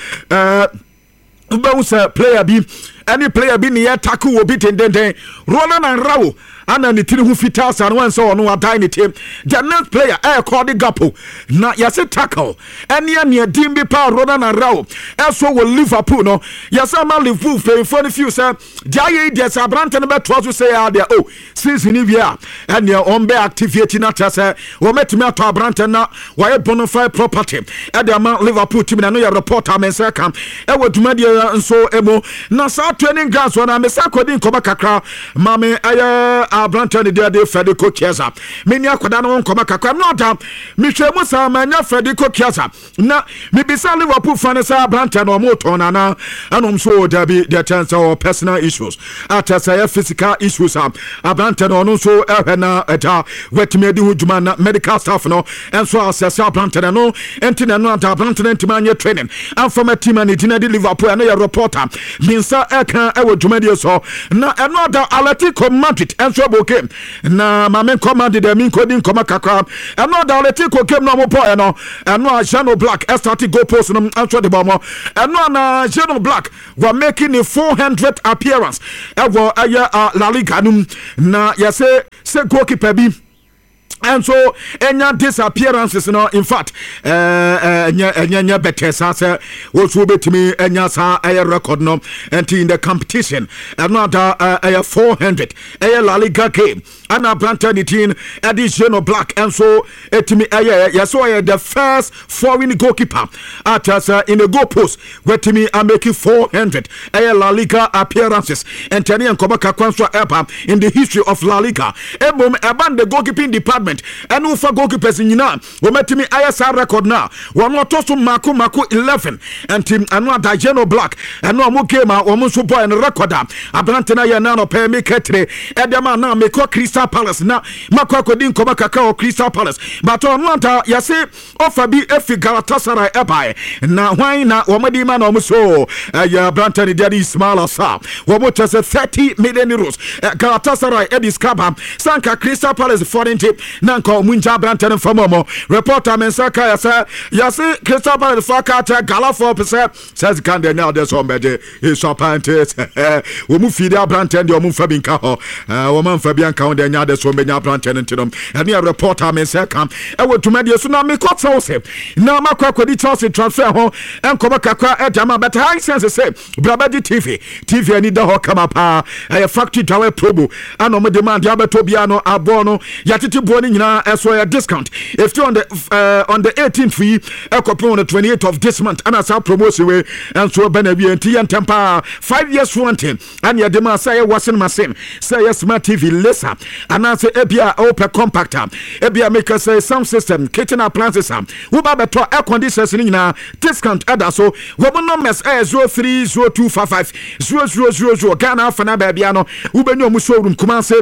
wobɛhu sɛ player bi ɛne player bi ne yɛ tackle wɔ bi dendenden. Ronald Araujo ana ne tiri ho fitaa saa no, wɔn sɛ ɔno adan ne ti. The next player ɛyɛ Cody Gakpo na yɛsɛ tackle ɛne ɛneɛ din bi paa Ronald Araujo ɛso wɔ Liverpool no. Yɛsɛ ama Liverpool mpanyinfoɔ no fiw sɛ deɛ ayɛ yi deɛ, sɛ aberante no bɛtoa so sɛ yɛ adeɛ o, season ni wie a, ɛneɛ wɔn bɛ activate na kyerɛ sɛ wɔmɛtumi atɔ aberante na wɔayɛ bonafide property ɛde ama Liverpool team. Na no yɛ report a me nsa ka ɛwɔ dwumadie nso mu. Na saa training grounds wɔ na mesa akɔdi nkɔmɔ kakra maame ɛyɛ aberante ne deɛ de Federico Chiesa. Meni akwadaa no ho nkɔmɔ kakra no ɔda mehwɛ mu saa manya Federico Chiesa na mebisa Liverpool fa no sɛ aberante no ɔmo tɔn nana ɛnom so dabi, deɛ kyɛn sɛ ɔwɔ personal issues akyɛ sɛ ɛyɛ physical issues a aberante no ɔno nso ɛhwɛ na ɛgya watumi adi ho dwuma na medical staff no ɛnso asɛsɛ aberante no nti na ɛno ada aberante no ntumi anyɛ training amfama team a ne gyina de Liverpool. Ɛno yɛ reporter ne nsa ɛka ɛwɔ dwumadie so. Na ɛno ada Atletico Madrid ɛnso ɛbɔ game na maame nkɔ Madrid ɛmi nkɔdi nkɔmɔ kakra. Ɛno ada Atletico game na ɔmo bɔɔɛ no, ɛno a Jan Oblak ɛstart goal post no ɛnso de bɔ ɔmo. Ɛno a na Jan Oblak were making a 400 appearance ɛwɔ ɛyɛ La Liga no mu na yɛsɛ sɛ goalkeeper bi ɛnso ɛnya disappearances no, in fact ɛnyɛ ɛnyɛ nyɛ bɛtɛ saa sɛ wɔso wobɛtumi ɛnya saa ɛyɛ record no. Ɛnti in the competition, ɛno ada ɛyɛ 400 ɛyɛ La Liga game ɛna aberantɛ ne din ɛde Jan Oblak ɛnso ɛtumi ɛyɛ. Yɛsɛ ɔyɛ the first foreign goalkeeper a kyerɛ sɛ in a goal post watumi amake 400 ɛyɛ La Liga appearances. Ɛntɛne yɛ nkɔmɔ kakra nso a ɛba in the history of La Liga. Mmom ɛba the goalkeeping department ɛne wofa goalkeepers nyinaa wɔmatumi ayɛ saa record no a, wɔn ɔtɔ so mako mako 11. Nti ɛno ada Jan Oblak ɛno ɔmo game a wɔn nso bɔɔ ɛno, record a aberante no ayɛ na anɔpɛ meka tire ɛde ma na mekɔ Crystal Palace na makɔ akɔdi nkɔmɔ kakra wɔ Crystal Palace. But ɔno anta yɛse ɔfa bi efi Galatasaray ɛbae na hwan na wɔn de ma na wɔn so ɛyɛ aberante no deɛ de Ismaila Sarr. Wɔn kyɛ sɛ €30 million Galatasaray ɛde sika ba sanka Crystal Palace fɔ ne nti na nka ɔmo ngya aberante no mfam. Ɔmo reporter me nsa ka yɛ sɛ yɛse Crystal Palace fo aka akyerɛ Galafoɔ pɛ sɛ sika deɛ nyɛ adeɛ sɛ ɔmbɛgye ɛsu apante sɛ wɔn mu fiidi aberante deɛ ɔmo mfa bi nka hɔ, wɔn amfa bi anka ho deɛ nyɛ adeɛ sɛ ɔmbɛnya aberante no. Nti no ɛne yɛ reporter me nsa ka ɛwɔ dwumadie so. Na mekɔ Chelsea na makɔ akɔdi Chelsea transfer ho nkɔmɔ kakra ɛde ama bɛtɛ Hisense sɛ brabagye TV. TV ani da hɔ kama paa, ɛyɛ factory dawɛ promo ana ɔmo de ma adeɛ abɛtɔ biara no aboɔ no yɛtete boɔ no nyinaa ɛso ɛyɛ discount ɛfiti on the 18th yi ɛkɔpem on the 28th of this month ana saa promotion wei ɛnso ɛbɛ na awie. Nti yɛ ntɛm paa, 5 years warranty ɛne yɛde ma sɛ ɛyɛ washing machine, sɛ ɛyɛ smart TV laser anaasɛ ebia ɔwopɛ compact a ebia meka sɛ sound system, kitchen appliances a woba bɛtɔ, air conditioners no nyinaa discount ɛda so. Wɔn numbers ɛyɛ 0302550000. Ghana afa na baabia no wobɛnya ɔmo showroom Kumase,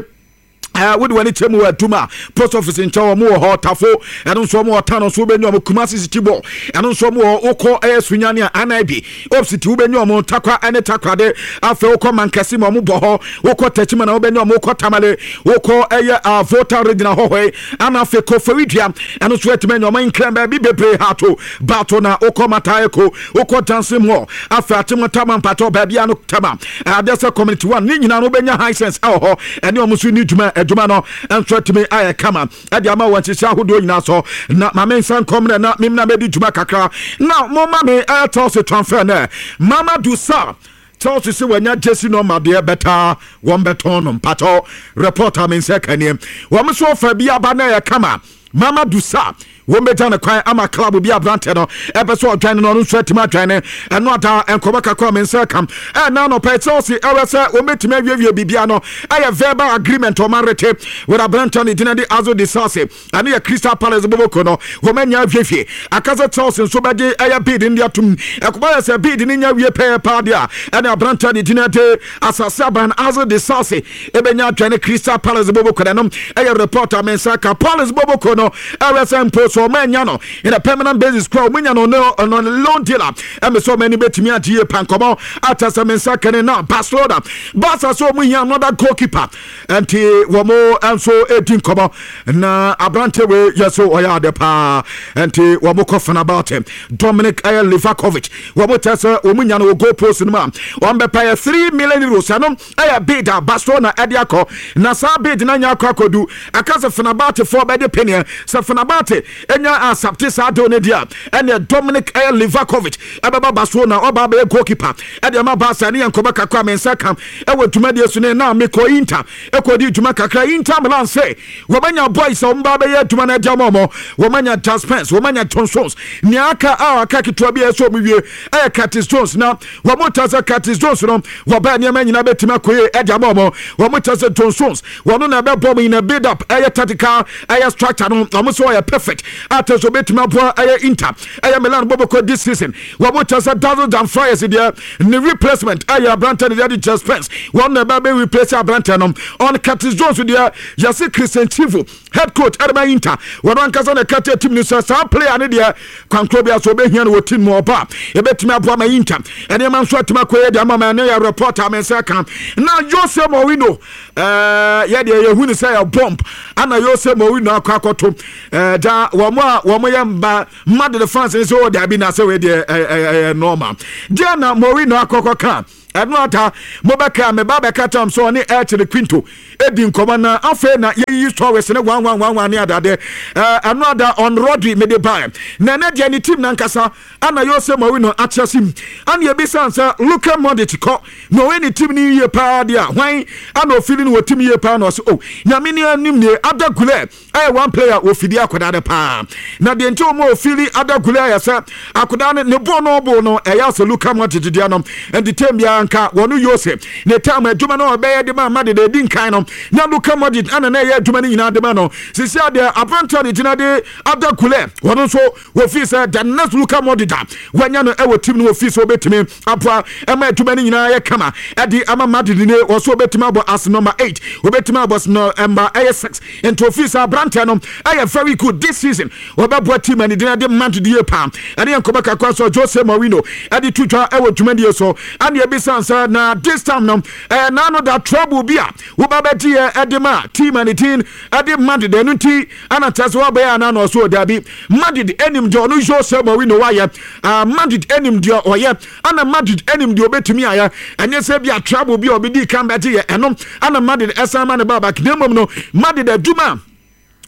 wode w'ani kyɛ mu wɔ Adum a post office nkyɛn wɔn wɔ hɔ. Tafo ɛno nso wɔn wɔ Tano nso wobɛnya wɔn. Kumasi City Ball ɛno nso wɔn wɔ. Wokɔ ɛyɛ Sunyani a anib opposite wobɛnya wɔn. Takwa ɛne Takrade. Afei wokɔ Mankasi ma wɔn bɔ hɔ. Wokɔ Tɛkyima na wobɛnya wɔn. Wokɔ Tamale, wokɔ ɛyɛ Volta Regional hɔ hɔ yi ana afei Koforidua ɛno nso atumi anya wɔn. Nkran baabi bebree hato bato na wokɔ Mataheko, wokɔ Johnson Mall, afei Akyem Tama mpatɔ baabi ano Tama adeɛ sɛ Community One ne nyinaa no wobɛnya Hisense ɛwɔ hɔ ɛne ɔmo nso ni dwuma. Adwuma no nso atumi ayɛ kama ɛde ama wɔn nhyehyɛ ahodoɔ nyinaa so. Na maame nsa nkɔm na memna mɛdi dwuma kakra na momma me ɛyɛ Chelsea transfer nɛ Mamadou Sarr. Chelsea sɛ wanya jersey number deɛ bɛtaa wɔn bɛtɔn no. Mpatɔ reporter me nsa kaneɛ wɔn nso ɔfa bi aba na ɛyɛ kama. Mamadou Sarr, wɔn bɛgya no kwan ama club bi aberantɛ no ɛpɛ sɛ ɔdwan no, ɔno nso atumi adwan no. Ɛno ada nkɔmɔ kakra me nsa ka ɛna anɔpɛ. Chelsea ɛwɛ sɛ wɔn bɛtumi awiewie biribia no, ɛyɛ verbal agreement ɔma rete with aberantɛ no gyina de Axel Disasi, ɛno yɛ Crystal Palace boboko no. Wɔn anya awiewie aka sɛ Chelsea nso bɛgye ɛyɛ bid no de atum. Ɛkɔba yɛ sɛ bid no nya wie pɛɛ paa deɛ a, ɛne aberantɛ no gyina de asase aban Axel Disasi ɛbɛnya adwane Crystal Palace boboko no. Ɛno ɛyɛ report a me nsa ka. Palace boboko no ɛwɛ sɛ mpo so ɔma anya no in a permanent basis kora, ɔmo nya no no loan deal a ɛmɛ sɛ ɔmo ani bɛtumi agye yie pa. Nkɔmɔ ata sɛ me nsa kɛne na Barcelona, Barca sɛ ɔmo hia another goalkeeper, nti wɔn nso edi nkɔmɔ na aberante wei yɛ so ɔyɛ ade paa, nti wɔn kɔ Fenerbahce, Dominic ɛyɛ Livakovic. Wɔn kyɛ sɛ wɔn nya no wɔ goal post no mu a, wɔn bɛpɛ yɛ €3 million. Ɛno ɛyɛ bid a Barcelona ɛde akɔ, na saa bid na nya akɔ akɔdu aka sɛ Fenerbahcefoɔ bɛde peneɛ sɛ Fenerbahce ɛnya accept saa deal no deɛ a, ɛneɛ Dominic ɛyɛ Livakovic ɛbɛba Barcelona, ɔba bɛyɛ goalkeeper ɛde ama Barca. Ne yɛ nkɔmɔ kakra me nsa ka ɛwɔ dwumadie so ne na mekɔ Inter ɛkɔdi dwuma kakra. Inter Milan sɛ wɔmanya boys a wɔn ba bɛyɛ adwuma no adi ama wɔn. Wɔmanya Djed Spence, wɔmanya John Stones. Nea aka a aka ketewa bi a ɛsɛ wɔn wie ɛyɛ Curtis Jones, na wɔn ta sɛ Curtis Jones no wɔbɛn nneɛma nyinaa bɛtumi akɔ yie ɛde ama wɔn. Wɔn ta sɛ John Stones wɔn na ɛbɛbɔ wɔn in a build up ɛyɛ tactical ɛyɛ structure no, wɔn nso ɔyɛ perfect ata so bɛtumi aboa ɛyɛ Inter ɛyɛ Milan bɔbɔkɔ this season. Wɔn ta sɛ Denzel Dumfries deɛ, ne replacement ɛyɛ aberantɛ no deɛ de Djed Spence, wɔn na ɛbɛ bɛ replace aberantɛ no. On Curtis Jones deɛ, yɛsi Christian Chivu, head coach ɛde Inter, wɔn ankasa na ɛka kyerɛ team no sɛ saa player no deɛ, kwankoro bi aso ɔbɛhia no wɔ team mu, ɔba ɛbɛtumi aboa ma Inter ɛnneɛma nso atumi akɔ yɛ de ama ma. Ɛno yɛ report a me nsa ka. Na Jose Mourinho yɛ deɛ yɛhu ne sɛ yɛ bomb ana Jose Mourinho akɔ akɔto ɛɛ gya wɔn a wɔn yɛ mba Madrid fans ne sɛ ɔ dabi na sɛ wei deɛ ɛyɛ normal deɛ na Mourinho akɔkɔ ka. Ɛno ata mobɛka meba bɛka kyɛm sɛ ɔne El Chiringuito ɛdi nkɔmmɔ, na afei na yɛyiyi stories ne wanwanwanwan ne adade. Ɛno ada on Rodri mede bae, na ɛnɛ deɛ ne team nankasa ana Jose Mourinho akyerɛ sim ana yɛbisa sɛ Luka Modric kɔ na ɔyɛ ne team no yie paa deɛ a, hwan ana ɔfili no wɔ team yie paa? Na ɔsɛ oh, Nyame ne anim nie, Arda Güler ɛyɛ one player wɔfidi akwadaa no paa, na deɛ nti wɔn a wɔfili Arda Güler ayɛ sɛ akwadaa no ne bɔɔl no ɔbɔ no ɛyɛ asɛ Luka Modric deɛ no. Nti tem biara nka wɔn Jose ne time adwuma no ɔbɛyɛ de ma Madrid edi nkan no, na Luka Modric ana na ɛyɛ adwuma no nyinaa de ma no. Sisi adeɛ aberanteɛ de gyina de Arda Güler, wɔn nso wɔfii sɛ the next Luka Modric a wɔanya no ɛwɔ team no, wɔfii sɛ wɔbɛtumi aboa ɛma adwuma no nyinaa yɛ kama ɛde ama Madrid ne wɔ so wɔbɛtumi abɔ as number 8, wɔbɛtumi abɔ as number ɛyɛ 6. Nti ofii sɛ aberanteɛ no ɛyɛ very good this season, wɔbɛboa team ani den de Madrid yie paa. Ɛne yɛn nkɔmɔ kakra so Jose Mourinho ɛde to dwa ɛwɔ dwumadie so. Ɛne ebisa sɛ na this time no ɛyɛ naano da trouble bi a woba bɛgye yɛ ɛde ma team ani din ɛde Madrid, ɛno nti ɛna kyerɛ sɛ wɔbɛyɛ ana? Na ɔso dabi, Madrid anim deɛ ɔno Jose Mourinho wayɛ, Madrid anim deɛ ɔyɛ, ana Madrid anim deɛ ɔbɛtumi ayɛ. Ɛnyɛ sɛ bi a trouble bi a ɔbɛdi kan bɛgye yɛ ɛno ana Madrid ɛsan ma ne ba back, na mmom no Madrid adwuma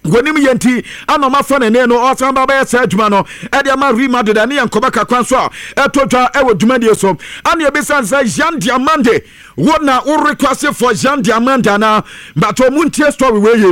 wɔnim yɛ nti ana ɔmafa n'ani no ɔsan ba bɛyɛ saa adwuma no ɛde ama Real Madrid. Ɛne yɛn nkɔmɔ kakra nso a ɛtɔ dwa ɛwɔ dwumadie so. Ana ebisa sɛ Yan Diomande, wo na wo request for Yan Diomande ana? But ɔmo ntie story wei yi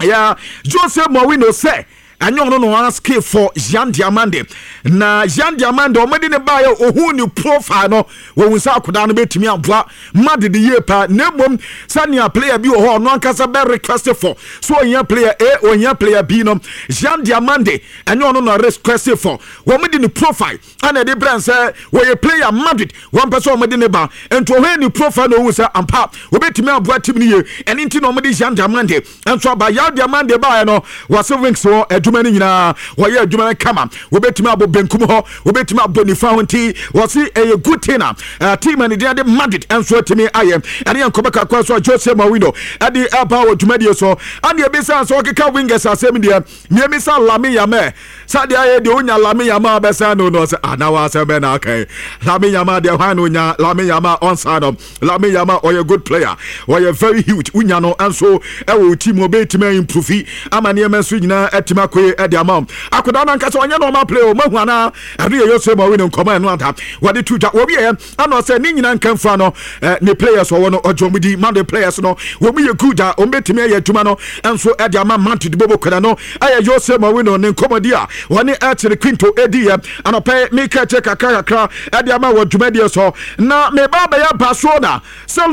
yɛ Jose Mourinho sɛ ɛnyɛ ɔno no ask for Yan Diomande, na Yan Diomande ɔmode ne baeɛ, ohun ne profile no, wɔhu sɛ akwadaa no bɛtumi aboa Madrid yie paa, na mmom sɛnea player bi wɔ hɔ ɔno ankasa bɛ request for so ohia player A, ohia player B no, Yan Diomande ɛnyɛ ɔno na request for. Wɔn de ne profile ana ɛde brɛ sɛ wɔyɛ player Madrid wɔn pɛ sɛ wɔn de ne ba, nti ɔhwɛ ne profile na ohun sɛ ampa wɔbɛtumi aboa team no yie. Ɛne nti na wɔn de Yan Diomande nso aba. Yan Diomande baeɛ no, wɔse wings wɔ adwuma no nyinaa wɔyɛ adwuma no kama, wɔbɛtumi abɔ benkum hɔ, wɔbɛtumi abɔ nifa ho, nti wɔse ɛyɛ good thing a team a ne din de Madrid nso atumi ayɛ. Ɛne yɛn nkɔmɔ kakra so a Jose Mourinho ɛde ɛba wɔ dwumadie so. Ɛne ebisa sɛ ɔkeka wingers asɛm deɛ, mmiemisa Lamine Yamal sɛdeɛ ayɛ deɛ onya Lamine Yamal bɛsɛn no sɛ ana wɔ asɛm bɛ na aka yi. Lamine Yamal deɛ, hwan na onya Lamine Yamal ɔnsa no? Lamine Yamal ɔyɛ good player, ɔyɛ very huge. Wonya no nso ɛwɔ team, ɔbɛtumi improve ama nneɛma nso nyinaa atumi akɔ. akɔyɛ ɛde ama akwadaa no ankasa. Ɔnyɛ normal play o, mahu anaa? Ɛno yɛ Jose Mourinho nkɔmɔ ɛno ada wɔde to dwa. Wɔwieɛ ana ɔsɛ ne nyinaa nkamfua no, ne players ɔwɔ no, ɔgye ɔmo di. Madrid players no wɔn yɛ good a wɔn bɛtumi ayɛ adwuma no nso ɛde ama Madrid bobo kwada no. Ɛyɛ Jose Mourinho ne nkɔmɔdi a wɔne ɛkyerɛ Quinto ɛdi yɛ anɔpɛ. Meka kyerɛ kakra kakra ɛde ama wɔ dwumadie so na meba bɛyɛ Barcelona sɛ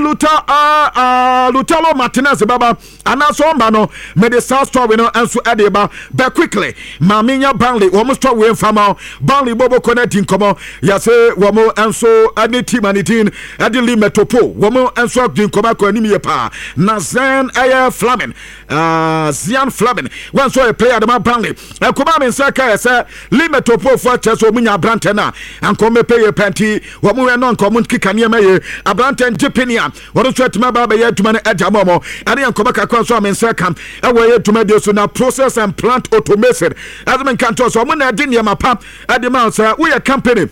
Lautaro Martinez bɛba anaasɛ ɔmba no, mede saa story no nso ɛde ba. But quickly, maame nya Burnley wɔn story mfama. Burnley bɔbɔ kɔ no adi nkɔmɔ yɛsɛ wɔn nso ɛne team a ne din ɛde Lee Metopo, wɔn nso adi nkɔmɔ akɔ anim yie paa. Na Zen ɛyɛ Fleming, Zian Fleming, wɔn nso yɛ player de ma Burnley. Ɛkɔmɔ a me nsa ka yɛ sɛ Lee Metopo fo akyerɛ sɛ wɔn nya aberantɛ no a ankɔmɔ bɛpɛ yie pɛnti wɔn wɛ no nkɔmɔ keka nneɛma yie. Aberantɛ ngye pini a wɔn nso atumi aba abɛyɛ adwuma no ɛde ama wɔn. Ɛne yɛn nkɔmɔ kakra nso a me nsa ka ɛwɔ ɛyɛ dwumadie so. Na Process and Plant Automation ɛde me nka nkyɛn sɛ wɔn na ɛde nneɛma pa ɛde ma sɛ woyɛ company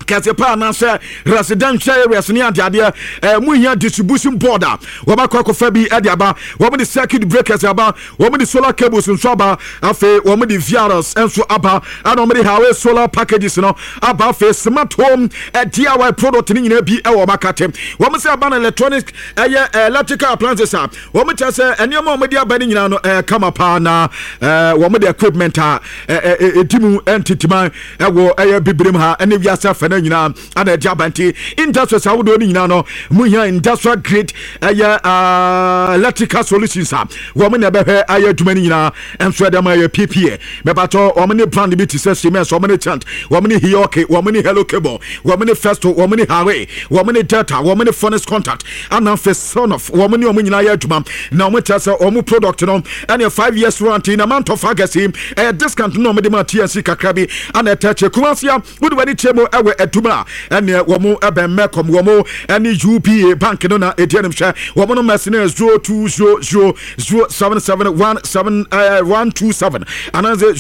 kɛse paa anaasɛ residential areas ne adeadeɛ mu hia distribution board a, wɔbɛkɔ akɔfa bi de aba. Wɔn de circuit breakers aba, wɔn de solar cables nso aba, afei wɔn de VRs nso aba, ɛna wɔn de highway solar packages no aba, afei smart home DIY product ne nyinaa bi ɛwɔ wɔn akate. Wɔn sɛ aba no electronic, ɛyɛ electrical appliances a wɔn kyerɛ sɛ nneɛma a wɔde aba no nyinaa no kama paa. Na wɔn de equipment a ɛdi mu ntintiman ɛwɔ ɛyɛ bibirem ha ɛne wiase afɛ no nyinaa ana ɛde aba. Nti industries ahodoɔ no nyinaa no mu hia industrial grade ɛyɛ electrical solutions a, wɔn na ɛbɛhwɛ ayɛ adwuma no nyinaa nso ɛde ama. Ɛyɛ PPA mɛbatɔ. Wɔn ne brand bi te sɛ Siemens, wɔn ne Chant, wɔn ne Hioki, wɔn ne Hello Cable, wɔn ne Festo, wɔn ne Huawei, wɔn ne Delta, wɔn ne Phoenix Contact, ana afei Sonoff. Wɔn ne wɔn nyinaa yɛ adwuma na wɔn kyerɛ sɛ wɔn product no ɛne 5 years warranty na mantɔ fa gɛsi ɛyɛ discount na wɔn de ma TNC kakra bi ana ɛtɛ kyɛ Kumasi a wode w'ani kyerɛ mu ɛwɔ adum a ɛneɛ wɔn ɛbɛn Mɛkɔm, wɔn ɛne UBA Bank no na ɛdi anim. Hwɛ wɔn no mɛsi no 02000771 7127 anaasɛ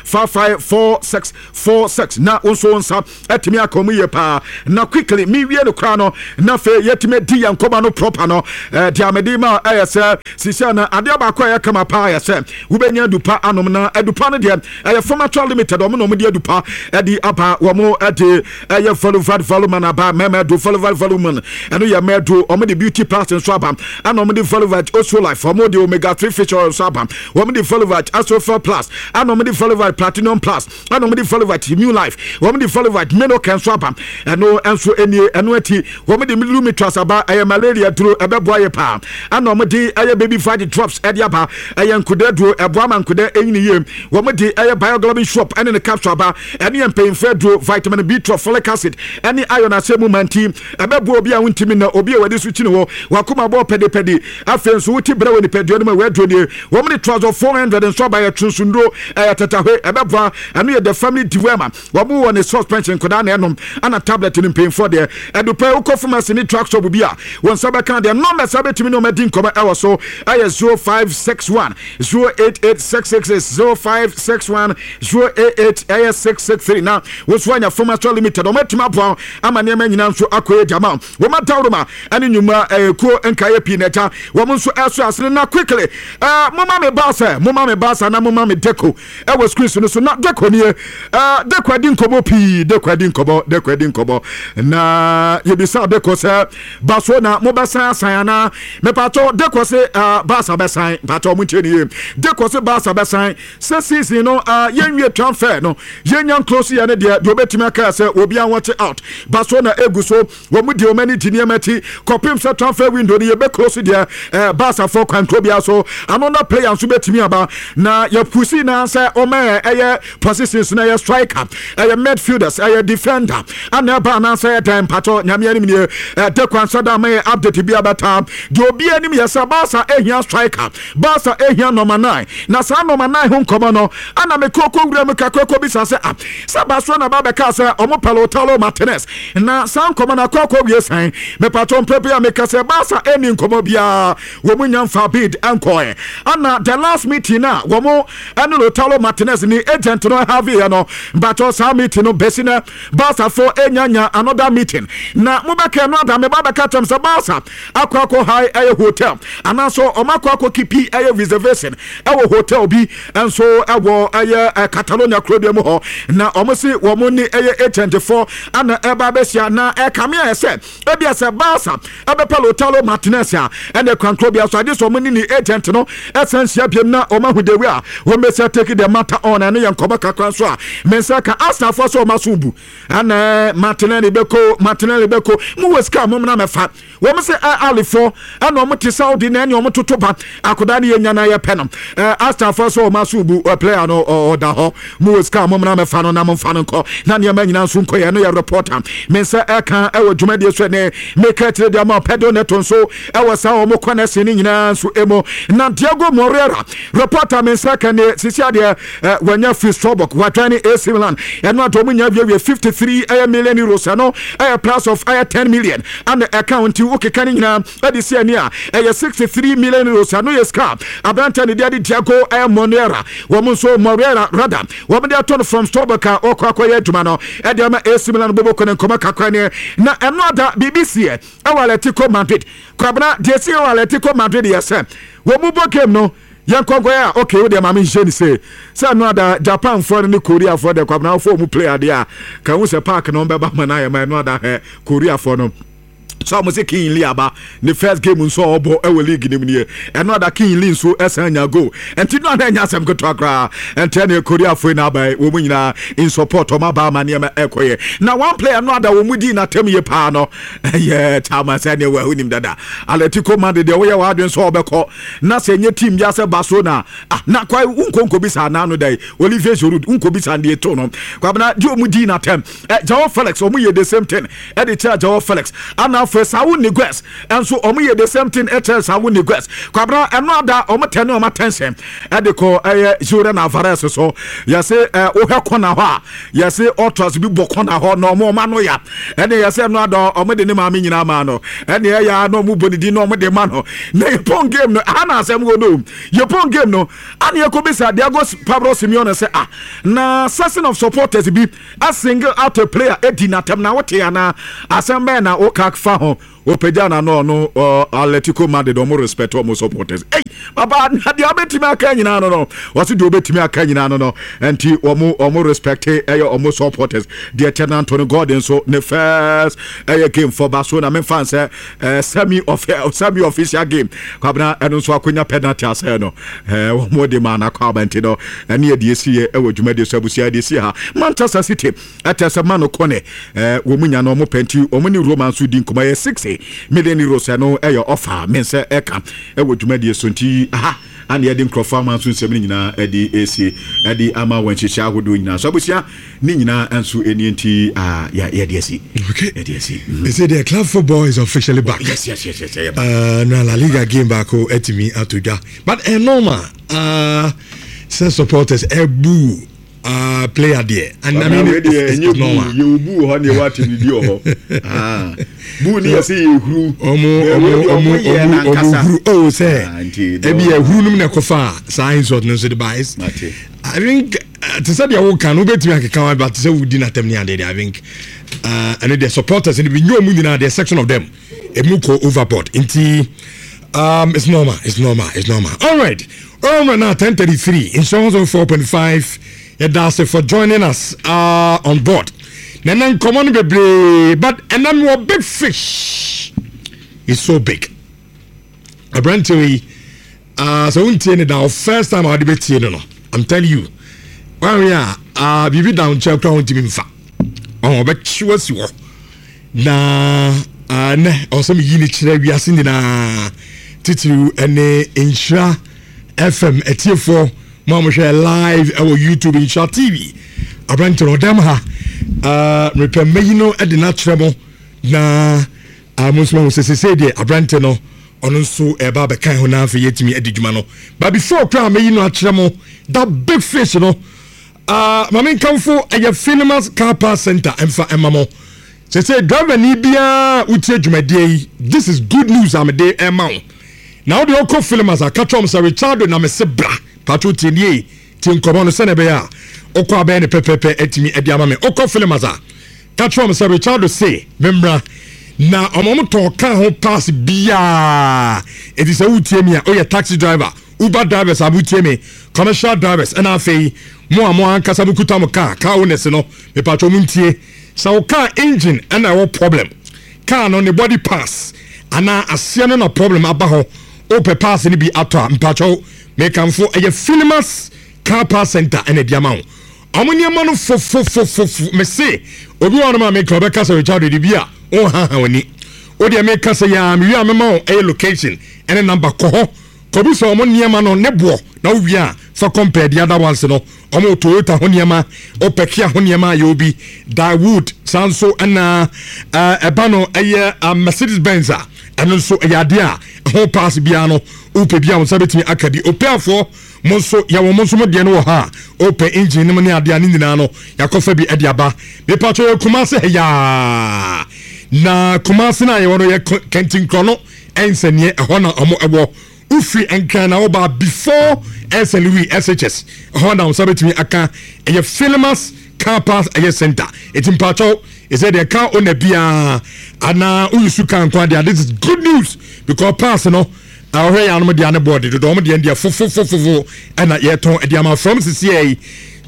0509554646 na wo nso wo nsa ɛtumi aka mu yie paa. Na quickly mewie no koraa no, na afei yɛtumi di yɛn nkɔma no proper no. Deɛ amede ma ɛyɛ sɛ sisia na adeɛ baako a ɛyɛ kama paa yɛ sɛ wobɛnya adupa anom. Na adupa no deɛ ɛyɛ Formatua Limited, ɔmo na ɔmo de adupa ɛde aba. Wɔn ɛde ɛyɛ Voluvat Voluman aba, mɛmɛ do Voluvat Voluman, ɛno yɛ mɛ do. Ɔmo de Beauty Plus nso aba, ɛna ɔmo de Voluvat Oso Life, ɔmo de Omega 3 fish oil nso aba, wɔn de Voluvat Asofel Plus, ɛna ɔmo de Voluvat Platinum Plus, ɛna ɔmo de Voluvat Immune Life, wɔn de Voluvat Menoke nso aba. Ɛno nso ɛnie. Ɛno akyi wɔn de Lumitras aba, ɛyɛ malaria duro, ɛbɛboa yɛ paa. Ɛna wɔn de ɛyɛ Baby Vadi Drops ɛde aba, ɛyɛ nkoda duro, ɛboa ma nkoda ɛnyini yie. Wɔn de ɛyɛ Bioglobin Shop ɛne ne capsule aba, ɛne yɛ mpanyinfoɔ aduro, vitamin B12, folic acid ɛne iron asɛ mu manti, ɛbɛboa obi a wontumi na obi a wɔde so kyini hɔ, wakoma bɔ pɛdepɛde, afei nso wote brɛ wɔ nipadua no mu a, wɔaduro nie. Wɔn de Trazol 400 nso aba, yɛ twonsonduro, ɛyɛ tatahwe, ɛbɛboa. Ɛno yɛ the family dewormer. Wɔn wɔ ne suspension nkɔdaa na ɛnom, ana tablet no mpanyinfoɔ deɛ. Ɛdupɛ wokɔ pharmacy ne drug shop bi a, wɔn nsa bɛka deɛ. Numbers a bɛtumi ne wɔn adi nkɔmɔ ɛwɔ so ɛyɛ 0561 088 666, 0561 088 ɛyɛ 663. Na wɔn nso anya Pharmacy Limited, wɔn atumi aboa ama nneɛma nyinaa nso akɔ yɛ gyama. Wɔn adawroma ɛne nnwuma ɛyɛ kuo nkaeɛ pii na ɛgya wɔn nso ɛso asene. Na quickly, moma me baasa, moma me baasa na moma me Deco ɛwɔ screen so no so. Na Deco nie. Deco adi nkɔmɔ pii, Deco adi nkɔmɔ, Deco adi nkɔmɔ. Na yɛbisa Deco sɛ baso na mobɛsan asan anaa? Mepatɔ Deco se baasa bɛsan. Mpatɔ mo ntie ne yie. Deco se baasa bɛsan sɛ season no yɛnwie transfer no, yɛnya nkuro so yɛ ne deɛ obɛtumi aka sɛ obiara watch out. Baso na egu so wɔn mu di wɔn ani gye nneɛma akyi kɔpem sɛ transfer window no yɛbɛ close deɛ, baasafoɔ kwan kuro biara so another player nso bɛtumi aba. Na yɛpusi na sɛ ɔma ɛyɛ positions na ɛyɛ striker, ɛyɛ midfielders, ɛyɛ defender ana ɛba anaasɛ ɛyɛ dan. Mpatɔ Nyame anim nie, ɛde kwan sɛ da ama yɛ update bi abɛta. Deɛ obi anim yɛ sɛ Baasa ehia striker, Baasa ehia number 9. Na saa number 9 ho nkɔmɔ no ana mekɔkɔ wura mu kakra kɔ bisa sɛ ah, sɛ Barcelona Barcelona ba bɛka sɛ ɔmo pɛ Lautaro Martinez, na saa nkɔmɔ no akɔ akɔ wie sɛn? Mepatɔ mpɛ bi a meka sɛ Barca ɛni nkɔmɔ biara, wɔn mu nya nfa bid ɛnkɔɛ. Ana the last meeting na wɔn ɛne Lautaro Martinez ni agent no have yɛ no, mpatɔ saa meeting no bɛsi nɛ Barca fo enya another meeting. Na mobɛka no ada meba bɛka kyɛm sɛ Barca akɔ akɔ high ɛyɛ hotel anaasɛ ɔmo akɔ akɔ keep ɛyɛ reservation ɛwɔ hotel bi nso ɛwɔ ɛyɛ Catalonia kuro bi mu hɔ, na ɔmo si wɔn ne ɛyɛ agent fo ana ɛba abɛhyia. Na ɛkame ayɛ sɛ ebia sɛ Barca ɛbɛpɛ Lautaro Martinez a, ɛna kwankoro bi aso agye sɛ ɔmo ne ne agent no ɛsan hyia biem na ɔmo ahu dewi a wɔn bɛsɛ take the matter on. Ɛno yɛ nkɔmɔ kakra nso a me nsa ka. Arsenal so ɔmo aso bu ɛna Martinelli bɛko, Martinelli bɛko mu wɔ sika mo na mɛfa wɔn sɛ ɛ alifo ɛna wɔn te Saudi na ɛne wɔn toto ba akwadaa no yɛ nya na yɛ pɛ no. Arsenal so wɔn aso bu player no, ɔda hɔ mu wɔ sika mo na mɛfa no na mo nfa no nkɔ na nneɛma nyinaa nso nkɔ yɛ. No yɛ reporter me nsa ɛka ɛwɔ dwumadie so. Ɛnɛ meka kyerɛ deɛ ma Pedro Neto nso ɛwɔ saa wɔn kɔ na ɛsɛn ne nyinaa nso emu. Na Diego Moreira, reporter me nsa ka ne sisi adeɛ ɛ wɔnya free Strasbourg, wɔatwa ne AC Milan. Ɛno ato wɔn nya wiewie 53 ɛyɛ million euros. Ɛno ɛyɛ plus of ɛyɛ 10 million ana ɛka ho, nti wokeka ne nyinaa ɛde si ani a, ɛyɛ €63 million. Ɛno yɛ sika aberante ne deɛ de Diego ɛyɛ Moreira, wɔn nso Moreira rather, wɔn de ato no from Strasbourg a ɔkɔ akɔyɛ adwuma no ɛde ama AC Milan. Bobo kɔ ne nkɔmɔ kakra ne na ɛno ada biribi siɛ ɛwɔ Atletico Madrid. Kwabena, deɛ si ɛwɔ Atletico Madrid yɛ sɛ wɔn mu bɔ game no yɛn nkɔnkɔn a, okay, wo deɛ maame nhyɛ ne se sɛ ɛno ada Japanfoɔ no ne Koreafoɔ deɛ, Kwabena, wɔfɔ wɔn play adeɛ a ka ho sɛ park no bɛba ma no ayɛ ma. Ɛno ada hɛ Koreafoɔ no so a wɔn sɛ King Lee aba ne first game nso a ɔbɔ ɛwɔ league nim nie. Ɛno ada King Lee nso ɛsan nya goal, nti no ada nya asɛm ketewa koraa. Nti ɛne Koreafoɔ yi na aba yi, wɔn nyinaa in support wɔn aba ama nneɛma ɛkɔ yɛ. Na one player no ada wɔn mu di n'atam yie paa no ɛyɛ chairman sɛ ɛneɛ wɔahu nim dada Atletico Madrid deɛ woyɛ w'adwene sɛ ɔbɛkɔ na sɛ ɛnyɛ team bi asɛ Barcelona ah, na kwa wonkɔ bisa anaa no dai Olivier Giroud wonkɔ bisa deɛ to no. Kwabena, deɛ ɔmu di n'atɛm Joao Felix, ɔmo yɛ the same thing ɛde kyerɛ Joao Felix, ana afei Saul Niguez ɛnso ɔmo yɛ the same thing ɛkyerɛ Saul Niguez. Kwabena, ɛno ada ɔmo tɛ ne ɔmo attention ɛde kɔ ɛyɛ Julian Alvarez so. Yɛse wohwɛ kɔna hɔ a, yɛse ultras bi bɔ kɔna hɔ na ɔmo ano ya. Ɛne yɛsɛ ɛno ada ɔmo de ne maame nyinaa ma no, ɛne ɛyɛ na ɔmo bɔ ne din na ɔmo de ma no. Na yɛpɔn game no aha na asɛm wɔ no, yɛpɔn game no ana yɛkɔ bisa Diego Pablo Simeone sɛ, ah, na section of supporters bi a single out a player edi n'atɛm na wote anaa asɛm bɛyɛ na woka fa ho? Opagya na no ɔno Atletico Madrid ɔmo respect ɔmo supporters. Ei papa, na deɛ ɔbɛtumi aka nyinaa no, wɔsi deɛ ɔbɛtumi aka nyinaa no, nti ɔmo respect ɛyɛ ɔmo supporters. Deɛ kyɛ na Anthony Gordon nso ne first ɛyɛ game for Barcelona, memfa sɛ semi official game, Kwabena, ɛno nso akonya penalty asɛ no wɔn de ma anakɔ abɛnti no. Ɛne yɛ deɛ esi yɛ ɛwɔ dwumadie so. Abusua, deɛ esi ha, Manchester City ɛtɛ sɛ Manu Kone wɔn mu nya no wɔn pɛ, nti wɔn ne Roma nso di nkɔmɔ, yɛ €60 million. Ɛno ɛyɛ ɔfa me nsɛ ɛka ɛwɔ dwumadie so. Nti aha ana yɛde nkurɔfoɔ ama nso nsɛm no nyinaa ɛde esie ɛde ama wɔn nhyehyɛ ahodoɔ nyinaa so. Abusua, ne nyinaa nso ɛnie, nti yɛde asi. Yɛde asi. They say the club football is officially back. Yes. Na La Liga game baako ɛtumi ato dwa, but ɛ normal sɛ supporters ɛbu player deɛ, and I mean it's normal. Yɛ bu wɔ hɔ ne yɛ wɔ atɛmidi wɔ hɔ. Bu ni yɛ sɛ yɛ huru. Ɔmo huru o sɛ ebi yɛ huru num na ɛkɔfa saa insult no nso de ba. I think te sɛ deɛ woka no wobɛtumi akeka wa, but te sɛ wodi n'atɛm ne adeɛ deɛ, I think ɛno deɛ supporters no bi nyɛ ɔmu nyinaa deɛ, section of them emu kɔ overboard, nti it's normal, it's normal, it's normal. All right, all right. Now 10:33, Nhyira 4.5. Yɛda ase for joining us on board. Na ɛnɛ nkɔmmɔ no bebree, but ɛnɛ mewɔ big fish, it's so big. Aberanteɛ yi, sɛ wontie ne da, first time a wode bɛtie no, I'm telling you, wawe a biribi da wo nkyɛn koraa wontumi mfa ɔbɛkye wasi hɔ. Na nɛ ɔwɔ sɛ meyi ne kyerɛ wiase nyinaa, titiriw ne Nhyira FM atiefoɔ mo a mohwɛ live ɛwɔ YouTube Nhyira TV. Aberante no ɔdam ha, mepɛ mɛyi no de no akyerɛ mo na mo nso mahu sɛ sesei deɛ aberante no ɔno nso ɛba abɛkan ho na afei yɛtumi adi dwuma no. But before koraa mɛyi no akyerɛ mo, that big fish no. Ah, ma menkamfo ɛyɛ Philemas Car Parts Center ɛmfa ɛma mo. Sese driver ni biara wotie dwumadie yi, this is good news a mede ɛma wo. Na wode ɔkɔ Philemas a, ka kyerɛ wɔn sɛ Richardo na mese bra. Patro tie nie, tie nkɔmɔ no sɛnea ɛbɛyɛ a wokɔ abɛyɛ ne pɛpɛpɛ atumi ɛde ama me. Wokɔ Philemas a, ka kyerɛ wɔn sɛ Richardo se memmra. Na wɔn wɔn tɔn kaa ho pass biara. Eti sɛ wotie mi a, woyɛ taxi driver, Uber drivers a motie me, commercial drivers, ɛna afei mo a mo ankasa mo kuta mo car, car owners no, mepatwɔ mo ntie. Sɛ wo car engine ɛna ɛwɔ problem, car no ne body parts anaa aseɛ no na problem aba hɔ, wopɛ parts no bi atɔ a, mpatwɔ mekamfo ɛyɛ Philimas Car Parts Center ɛna ɛde ama wo. Ɔmo nneɛma no fofofofofo, mese obi wɔ hɔ nom a meka ɔbɛka sɛ Richard de bi a ɔnhaha w'ani. Wo deɛ meka sɛ yaa mewie a mɛma wo ɛyɛ location ɛne number kɔ hɔ. Kɔbisa wɔn nneɛma no ne boɔ na wo wie a fa compare the other ones no. Wɔn wɔ Toyota ho nneɛma, wopɛ Kia ho nneɛma a yɛwɔ bi, Daewoo saa nso ɛna ɛba no ɛyɛ Mercedes Benz a ɛno nso ɛyɛ adeɛ a ɛho pass biara no wopɛ bi a wo nsa bɛtumi aka bi. Opeafoɔ mo nso yɛwɔ mo nso mo deɛ no wɔ ha a wopɛ engine no mu ne adeɛ a ne nyinaa no yɛakɔfa bi ɛde aba. Mepatwɔ yɛ Kumase ha yaa na Kumase no a yɛwɔ no yɛ Kɛntinkorɔ no Ɛnsɛneɛ ɛhɔ na ɔmo ɛwɔ. Wofiri Nkran na woba before Ɛnsɛn Louis SHS ɛhɔ na wo nsa bɛtumi aka ɛyɛ Philimas car parts ɛyɛ center. Eti mpakyɛw ɛsɛ deɛ car owner biara anaa woyusu car nko adeɛ this is good news because parts no ɔhwɛ yɛ anom deɛ ne boɔ de dodo ɔmo deɛ deɛ fofofofofo ɛna yɛtɔn ɛde ama from sisiɛ yi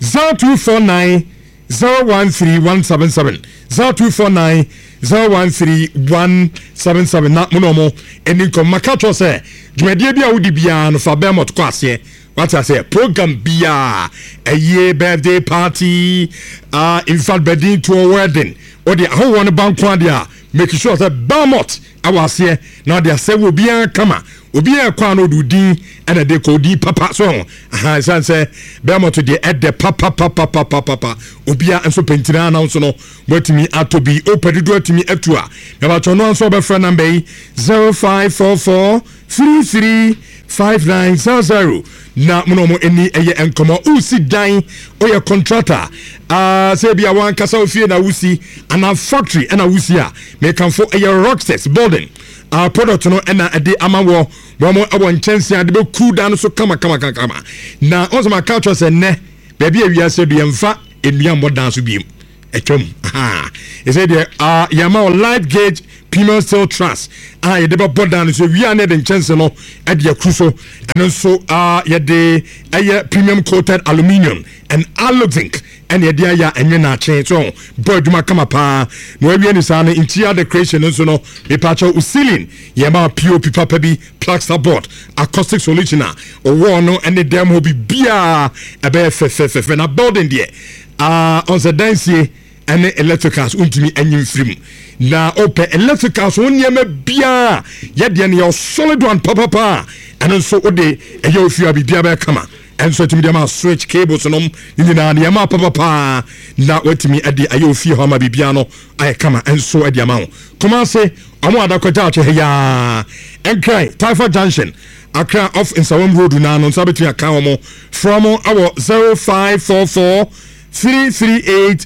0249 013 177 0249 013 177 na mo ne ɔmo ɛni nkɔmɔ. Maka kyerɛ sɛ dwumadie bi a wodi biara no fa Belmont kɔ aseɛ. Wate aseɛ? Program biara ɛyie, birthday party, in fact bɛdin toɔ wedding, wode ahohoɔ no ba nko adeɛ a make sure sɛ Belmont ɛwɔ aseɛ na ɔde asɛ wɔ obiara kama. Obiara ɛkɔ a na ɔde odin ɛna ɛde kɔ, odin papa so ho aha, ɛsiane sɛ Belmont deɛ ɛdɛ papapapapapapa. Obiara nso pɛntina na nso no watumi atɔ bi, wopɛ dodoɔ atumi atu a ɛbɛtɔ no nso ɔbɛfrɛ namba yi 0544 33 5900 na mo na ɔmo ani ɛyɛ nkɔmɔ. Wosi dan, woyɛ contractor, sɛ bi a wankasa ofie na wosi anaa factory ɛna wosi a, mekamfo ɛyɛ Rockstars building product no ɛna ɛde ama wɔ wɔn ɛwɔ nkyɛnse a de bɛku dan no so kama kama kama. Na ɔsɛ ma ka kyerɛ sɛ nnɛ baabi a wiase do yɛmfa nnua mmɔ dan so biem, atwam ɛsɛ deɛ yɛama wɔ light gauge premium steel truss a yɛde bɛbɔ dan no so wia ne yɛde nkyɛnse no ɛde akuru so. Ɛno nso yɛde ɛyɛ premium coated aluminium and aluzinc ɛne yɛde ayɛ ɛnwe naakye so bɔ adwuma kama paa. Na wawie ne saa no interior decoration no nso no, mepaakyɛw ceiling yɛma POP papa bi, plaster board, acoustic solution a ɔwɔ no ɛne dɛm hɔ biribiaa ɛbɛyɛ fɛfɛfɛfɛ. Na building deɛ ɔnsɛ dansie ɛne electricals wontumi anyi mfiri mu. Na wopɛ electricals ho nneɛma biaa yɛdeɛ no yɛ solid one papapa a ɛno nso wode ɛyɛ ofie a biribiaa bɛyɛ kama. Ɛnso atumi de ama switch cables nom ne nyinaa nneɛma papapaa na watumi de ayɛ ofie hɔ ama biribiaa no ayɛ kama. Ɛnso de ama wo Kumase ɔmo adakɔgya akyɛ ha yaa Nkran Taifa Junction, Accra off Nsawam Road na no nsa bɛtumi aka wɔn. Frɛ mo awɔ 0544 338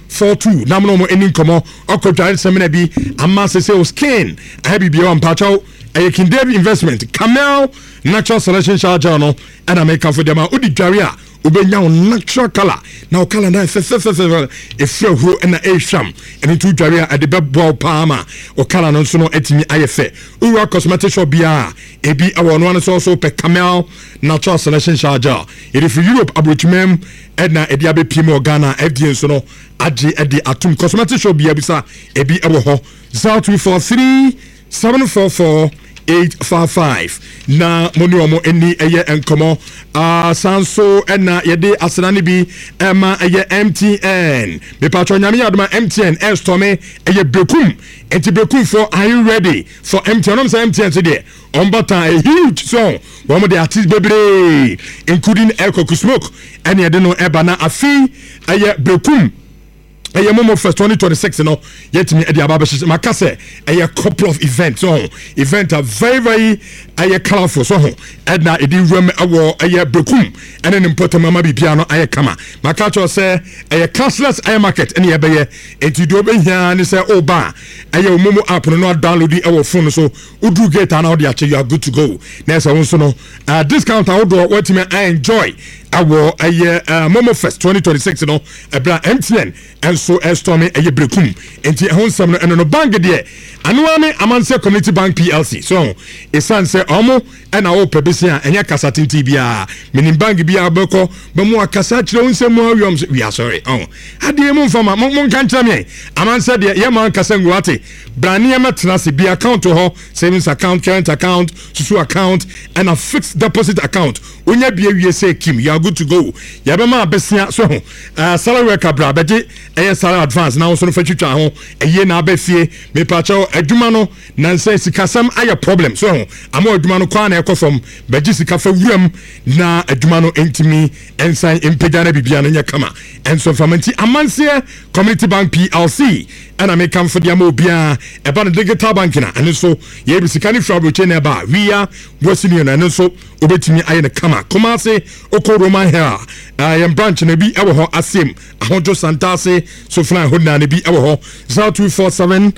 042 na mo na wɔn ani nkɔmɔ. Ɔkɔ dware sɛmina bi ama sese o skin ayɛ biribi wɔ mpakyɛw. Ɛyɛ King David Investment Camel Natural Selection Shower Gel no ɛna meka fo deɛ ma wodi dware a wobɛnya wo natural color na wo color na fɛfɛfɛfɛ ɛfiri ahuro ɛna ɛrehwam. Ɛno nti wodware a ɛde bɛboa wo paa ma wo color no nso no atumi ayɛ fɛ. Wowura cosmetic shop biara ebi ɛwɔ ɔno ano sɛ ɔso wopɛ Camel Natural Selection Shower Gel, yɛde firi Europe aburokyimam ɛna ɛde abɛpie mu wɔ Ghana. FDA nso no agye ɛde atom. Cosmetic shop biara bisa ebi ɛwɔ hɔ. 0243 744 855 na mo ne wɔn ani ɛyɛ nkɔmɔ. San so ɛna yɛde asena no bi ɛma ɛyɛ MTN. Mepatwɔ nyame yɛ adoma MTN ɛstɔme ɛyɛ Bekum. Nti Bekumfoɔ, are you ready for MTN? Ɔnom sɛ MTN so deɛ wɔn bata a huge song, wɔn de artist bebree including Ɛkɔku Smoke ɛne ɛde no ɛba. Na afei ɛyɛ Bekum ɛyɛ Momo Fest 2026 no yɛtumi ɛde aba abɛhyehyɛ. Maka sɛ ɛyɛ couple of events so event are very very Ɛyɛ colourful so ho ɛna ɛde wuram ɛwɔ ɛyɛ Berekum ɛne ne mpɔtam ama biribiara no ayɛ kama. Maka kyerɛ sɛ ɛyɛ cashless ɛyɛ market ɛne yɛbɛyɛ, enti deɛ wobɛhia ne sɛ woba a ɛyɛ wo momo app no na download ɛwɔ phone so, woduru gate a na wode akyɛ, you are good to go. Na ɛsɛ wo nso no discount ahodoɔ woatumi enjoy ɛwɔ ɛyɛ Momo Fest 2026 no, ɛberɛ a MTN nso ɛstorme ɛyɛ Berekum. Nti ɛho nsɛm no ɛno no. Bank deɛ anoa ne Amanseɛ Community Bank PLC so, ɛsiane sɛ ɔmo ɛna wopɛ bese a ɛnyɛ kasa tenten biara. Menim bank bi a wobɛkɔ bɛmo akasa kyerɛ wo nsɛm mu awiam sɛ we are sorry. Ɔho adeɛ mu mfa ma monka nkyerɛ me. Amansɛ deɛ yɛma nkasa ngu ate bra nneɛma tena ase bi account hɔ, savings account, current account, susu account, ɛna fixed deposit account. Wonya bi awie sɛ kim, you are good to go. Yɛbɛma abɛsia so ho salary worker bra bɛgye ɛyɛ salary advance na wo nso no fa twitwa ho ɛyie na abɛ fie. Mepakyɛw, adwuma no nansɛ sikasɛm ayɛ problem so ho ama adwuma no kwan na ɛkɔ fam, bɛgye sika fa wuram na adwuma no ntumi nsan mpagya na bibia no nyɛ kama ɛnso mfama. Nti Amanseɛ Community Bank PLC ɛna mekamfo de ama obiara. Ɛba no digital bank na ɛno nso yɛbi sika no firi aburokye na ɛba a wia wɔsi no ɛno nso wobɛtumi ayɛ no kama. Kumase okɔ Roman Hill, yɛn branch no bi ɛwɔ hɔ, Asem Ahodwo Santase Soflan hɔ nyinaa no bi ɛwɔ hɔ. 0247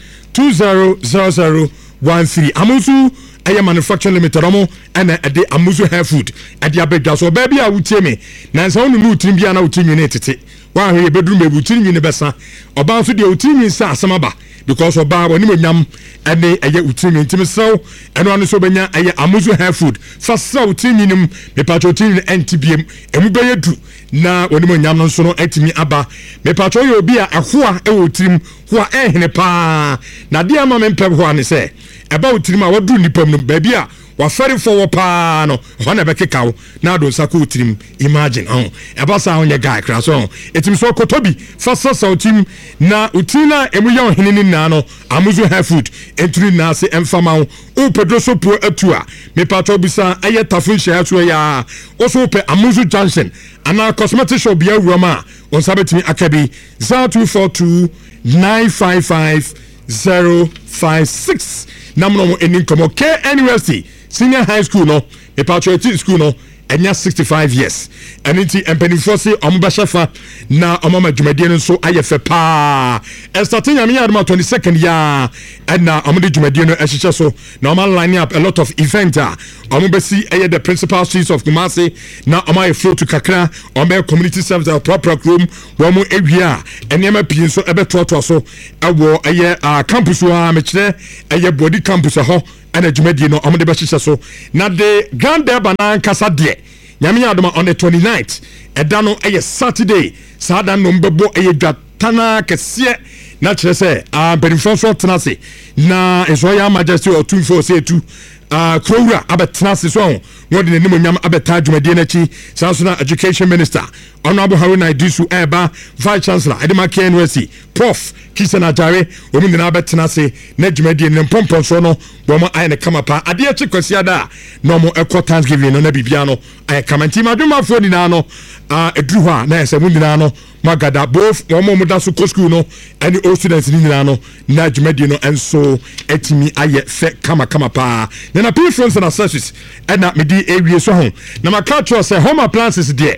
200013. Amuzu ɛyɛ Manufacturing Limited, ɔmo ɛna ɛde Amuzu Hair Food ɛde abɛdwa so. Ɔbaa bi a wotie me nansa wo nunu tirim bi a na wotiri nwi ne tete wahwɛ yɛ bɛduru baabi wotiri nwi ne bɛsa. Ɔbaa nso deɛ wotiri nwi nsa asɛm aba because ɔbaa wɔne onyam ɛne ɛyɛ wotiri nwi. Ntumi serɛw ɛno ano nso wobɛnya ɛyɛ Amuzu Hair Food fa serɛ wotiri nwi no mu. Mepatwa wotiri nwi no ɛnte biem, emu bɛyɛ du na wɔne onyam no nso no atumi aba. Mepatwa woyɛ obi a ɛhoa ɛwɔ tirim hoa ɛhene paa na adeɛ ama me mpɛ hoa ne sɛ ɛba wo tirim a waduru nipa mu no, baabi a wafɛrefoɔ wɔ paa no, ɛhɔ na ɛbɛkeka wo na ado nsa kɔ wo tirim. Imagine ɔho ɛba saa wonyɛ guy kra so ɔho ɛtumi so ɔkɔtɔ bi fa sasa wo tirim na wo tiri no a ɛmu yɛ ɔhene no nyinaa no. Amuzu Hair Food ɛntumi nyinaa se ɛmfa ma wo. Wopɛ duro so puo atu a, mepatɔ bisa ɛyɛ Tafo nhyia so ɛyɛ a wo so wopɛ Amuzu Junction anaa cosmetic shop bia wuram a wo nsa bɛtumi aka bi. 0242 955 056 na mo na ɛni nkɔmmɔ. KNUST Senior High School no, mepatɔ ɛti school no ɛnya 65 years, ɛno nti mpanimfoɔ se ɔmo bɛhyɛ fa na ɔmo ama dwumadie no nso ayɛ fɛ paa. Ɛsate Nyame yɛ adoma 22nd yaa ɛna ɔmo de dwumadie no ɛhyehyɛ so na ɔmo line up a lot of event a ɔmo bɛsi ɛyɛ the principal streets of Kumasi na ɔmo ayɛ float kakra, ɔmo bɛyɛ community service aprapra kurom. Wɔn awie a, nneɛma pii nso ɛbɛtoatoa so ɛwɔ ɛyɛ campus hɔ a mekyerɛ ɛyɛ Bɔdi campus ɛhɔ ɛna dwumadie no ɔmo de bɛhyehyɛ so. Na de Grand Durbar n'ankasa deɛ, Nyame yɛ adoma, on the 29th, ɛda no ɛyɛ Saturday. Saa da no bɛbɔ ɛyɛ dwa tana kɛseɛ na kyerɛ sɛ mpanimfoɔ nso tena ase na nso ɔyɛ Majesty Ɔtumfoɔ sɛ etu kurowura abɛtena ase so ɔho na ɔde n'anim onyam abɛtaa dwumadie n'akyi. Saa nso na Education Minister Honorable Haruna Iddrisu ɛɛba, Vice Chancellor ɛde ma KNUST, Prof Christian Ajare, wɔn nyinaa bɛtena ase na dwumadie no mpɔmpɔnsoɔ no wɔn ayɛ no kama paa. Adeɛ akyi Kwasiada a na wɔn ɛkɔ Thanksgiving no na biribiara no ayɛ kama. Nti madwemmafoɔ nyinaa no ɛduru hɔ a na ɛsɛ mo nyinaa no magada, both wɔn a wɔda so kɔ school no ɛne old students no nyinaa no, na dwumadie no nso atumi ayɛ fɛ kamakama paa. Na na pii phones and accessories ɛna mede ewie so ho na maka kyerɛ sɛ home appliances deɛ,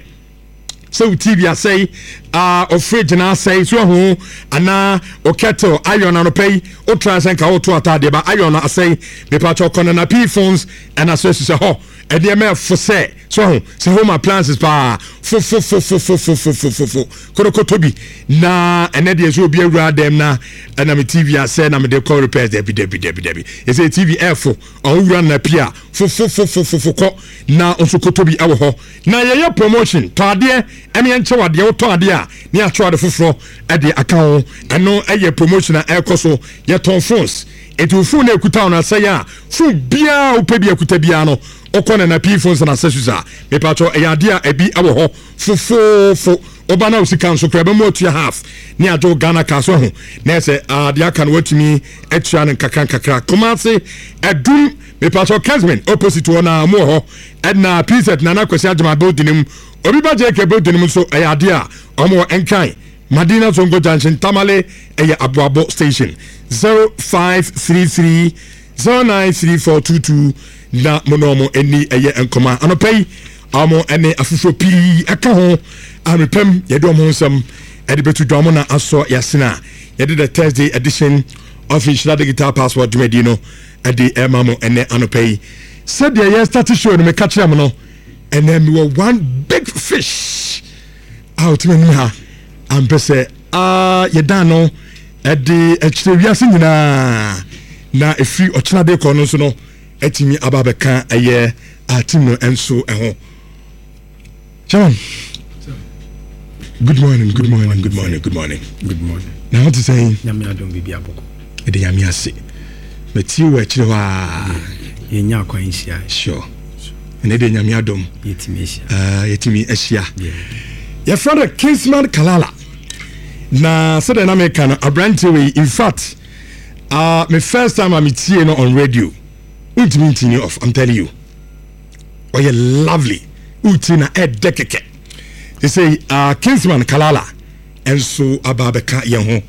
sɛ wo TV asɛe, o fridge na asɛe so ho anaa o kettle iron, anɔpɛ yi o try sɛ nka woto ataadeɛ ba iron no asɛe, mepakyɛ kɔ na pii phones and accessories hɔ. Ɛdeɛ ɛfo sɛ so ho sɛ home appliances paa fofofofofofofofofo kotokoto bi na ɛnɛ deɛ sɛ obi awura dɛm na ɛna me TV asɛ na mede kɔ repairs. Dabi dabi dabi dabi, ɛsɛ TV ɛfo ɔwura na pia fofofofofofo kɔ na nso koto bi ɛwɔ hɔ. Na yɛyɛ promotion, tɔ adeɛ ɛne yɛnkyɛw adeɛ. Wotɔ adeɛ a ne yɛakyɛw ade foforɔ ɛde aka ho. Ɛno ɛyɛ promotion a ɛrekɔ so. Yɛtɔn phones, nti wo phone na ekuta wo no asɛe a, phone biara wopɛ bi akuta biara no, wokɔ Nana Pii Phones and Accessories a, mepatwɔ ɛyɛ adeɛ a ɛbi ɛwɔ hɔ fofoofo. Woba na wo sika nso koraa ɛbɛmu atua half ne agye wo Ghana car so ho na ɛsɛ adeɛ aka no watumi atua no nkakra nkakra. Kumase Adum, mepatwɔ Kesmin opposite hɔ na mu wɔ hɔ, ɛna PZ Nana Kwasi Agyema building mu, obi ba JK building mu nso ɛyɛ adeɛ a ɔmo wɔ Nkran Madina Zongo Junction, Tamale ɛyɛ Aboabo Station. 0533 093422. Na mo ne ɔmo ani ɛyɛ nkɔmɔ. Anɔpa yi ɔmo ɛne afoforɔ pii ɛka ho amepɛm, yɛde ɔmo ho nsɛm ɛde bɛto dwa. Ɔmo na asɔ yɛasene a yɛde the Thursday edition of Nhyira Digital Passport dwumadi no ɛde ɛma mo ɛnɛ anɔpa yi. Sɛdeɛ yɛ start show no, meka kyerɛ mo no, ɛnɛ mewɔ one big fish a ɔtumi anim ha ampɛ sɛ yɛdan no ɛde akyerɛ wiase nyinaa, na ɛfiri ɔkyena de kɔ no nso no atumi aba abɛka ɛyɛ team no nso ɛho. Chairman, good morning, good morning, good morning, good morning. Good morning. Na ho te sɛn? Nyame adom, biribi abɔkɔ. Ɛde Nyame ase. Matie wɔ akyire hɔ a. Yɛnya akwan nhyia. Sure, ɛnɛ de Nyame adom. Yɛtumi ahyia. Yɛtumi ahyia. Yɛfrɛ no Kingsman Kalala, na sɛdeɛ na meka no, aberanteɛ wei, in fact, me first time a metie no on radio, wontumi ntini off. I'm telling you, ɔyɛ lovely, wotie na ɛdɛ kɛkɛ. Te sɛ Kingsman Kalala ɛnso aba abɛka yɛn ho.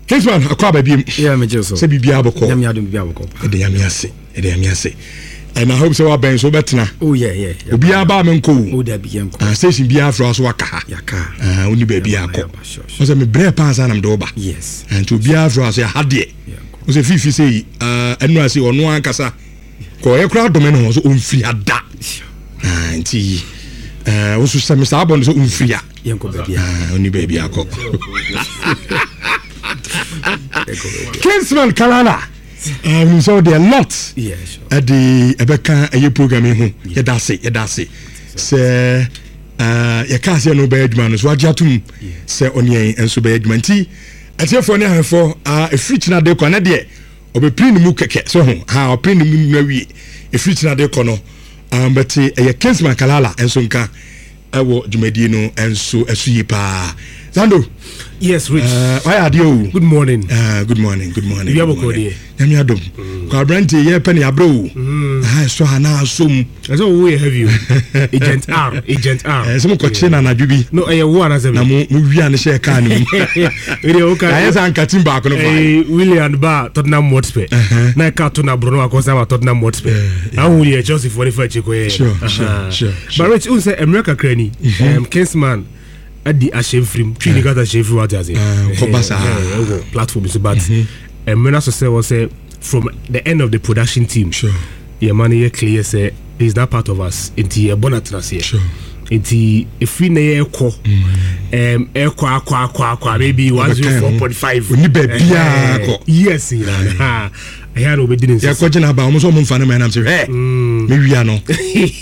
Kingsman, akɔ aba biem. Yeah, megye so. Sɛ biribiara bɔkɔ? Nyame adom, biribi abɔkɔ paa. Ɛde Nyame ase, ɛde Nyame ase, and I hope sɛ wabɛn so wobɛtena. Oh yeah. Obiara baa me nkɔ o. Oh, dabi, yɛnkɔ. Station biara frɛ wo so, waka ha. Yɛaka. Woni baabi akɔ. Yɛaba, sure. Wɔ sɛ mebrɛ paa sa na mede wo ba. Nti obiara frɛ wo so, yɛha deɛ wo sɛ fifi sɛ yi ɛno ase, ɔno ankasa kɔ ɔyɛ koraa dome ne ho so ɔmfiri ha da. Nti wo so sɛ me saa bɔ no sɛ ɔmfiri ha. Yɛnkɔ baabi a. Ɔni baabi akɔ. Yɛnkɔ baabi. Kingsman Kalala, menim sɛ wode a lot ɛde ɛbɛka ɛyɛ program yi ho. Yɛda ase, yɛda ase sɛ yɛka sɛ no bɛyɛ adwuma no so wagye atom sɛ ɔne yɛn nso bɛyɛ adwuma. Nti atiefoɔ ne ahwɛfoɔ, ɛfiri kyena de kɔ ne deɛ ɔbɛpiri ne mu kɛkɛ sɛ ho ha ɔpiri ne mu no awie. Ɛfiri kyena de kɔ no, bɛte ɛyɛ Kingsman Kalala nso nka ɛwɔ dwumadie no nso ɛso yie paa. Zando. Yes, Rich. Wayɛ adeɛ o. Good morning. Good morning, good morning. Wia good bɔkɔ morning. deɛ. Nyame adom kɔ, aberanteɛ yɛpɛ ne abrɛ o. Aha ɛsɔ ha na asɔ mu. Ɛsɛ wo yɛ heavy o. Agent R, Agent R. Sɛ mokɔkye no anadwo bi. No, ɛyɛ wo anasɛ na me. mo wia no hyɛɛ kaa no mu. Ɛdeɛ wo ka. Ayɛ sɛ anka team baako no fa. Willian ba Tottenham Hotspur. Na ɛka to na Bruno akɔsa ma Tottenham Hotspur. Ahu deɛ Chelsea foɔ ne fa akyi kɔyɛ. Sure. But Rich, wohu sɛ mmerɛ kakra ni, Kingsman adi ahyɛ mfirim, twi ne kasa hyɛ mfirim, wate ase. Kɔba saa. Ɛwɔ platform so, but mmerɛ no so sɛ wɔ sɛ from the end of the production team. Yɛma no yɛ clear sɛ he is not part of us, nti yɛbɔ no atena aseɛ. Nti ɛfiri na yɛkɔ ɛkɔ akɔ akɔ akɔ a maybe 104.5. Onni baabiara kɔ. Yes, nyinaa ɛyɛ na obɛdi ne nsɛ. Yɛkɔgye no aba, ɔmo sɛ ɔmo mfa no ma ɛnam sɛ hwɛ mewia no.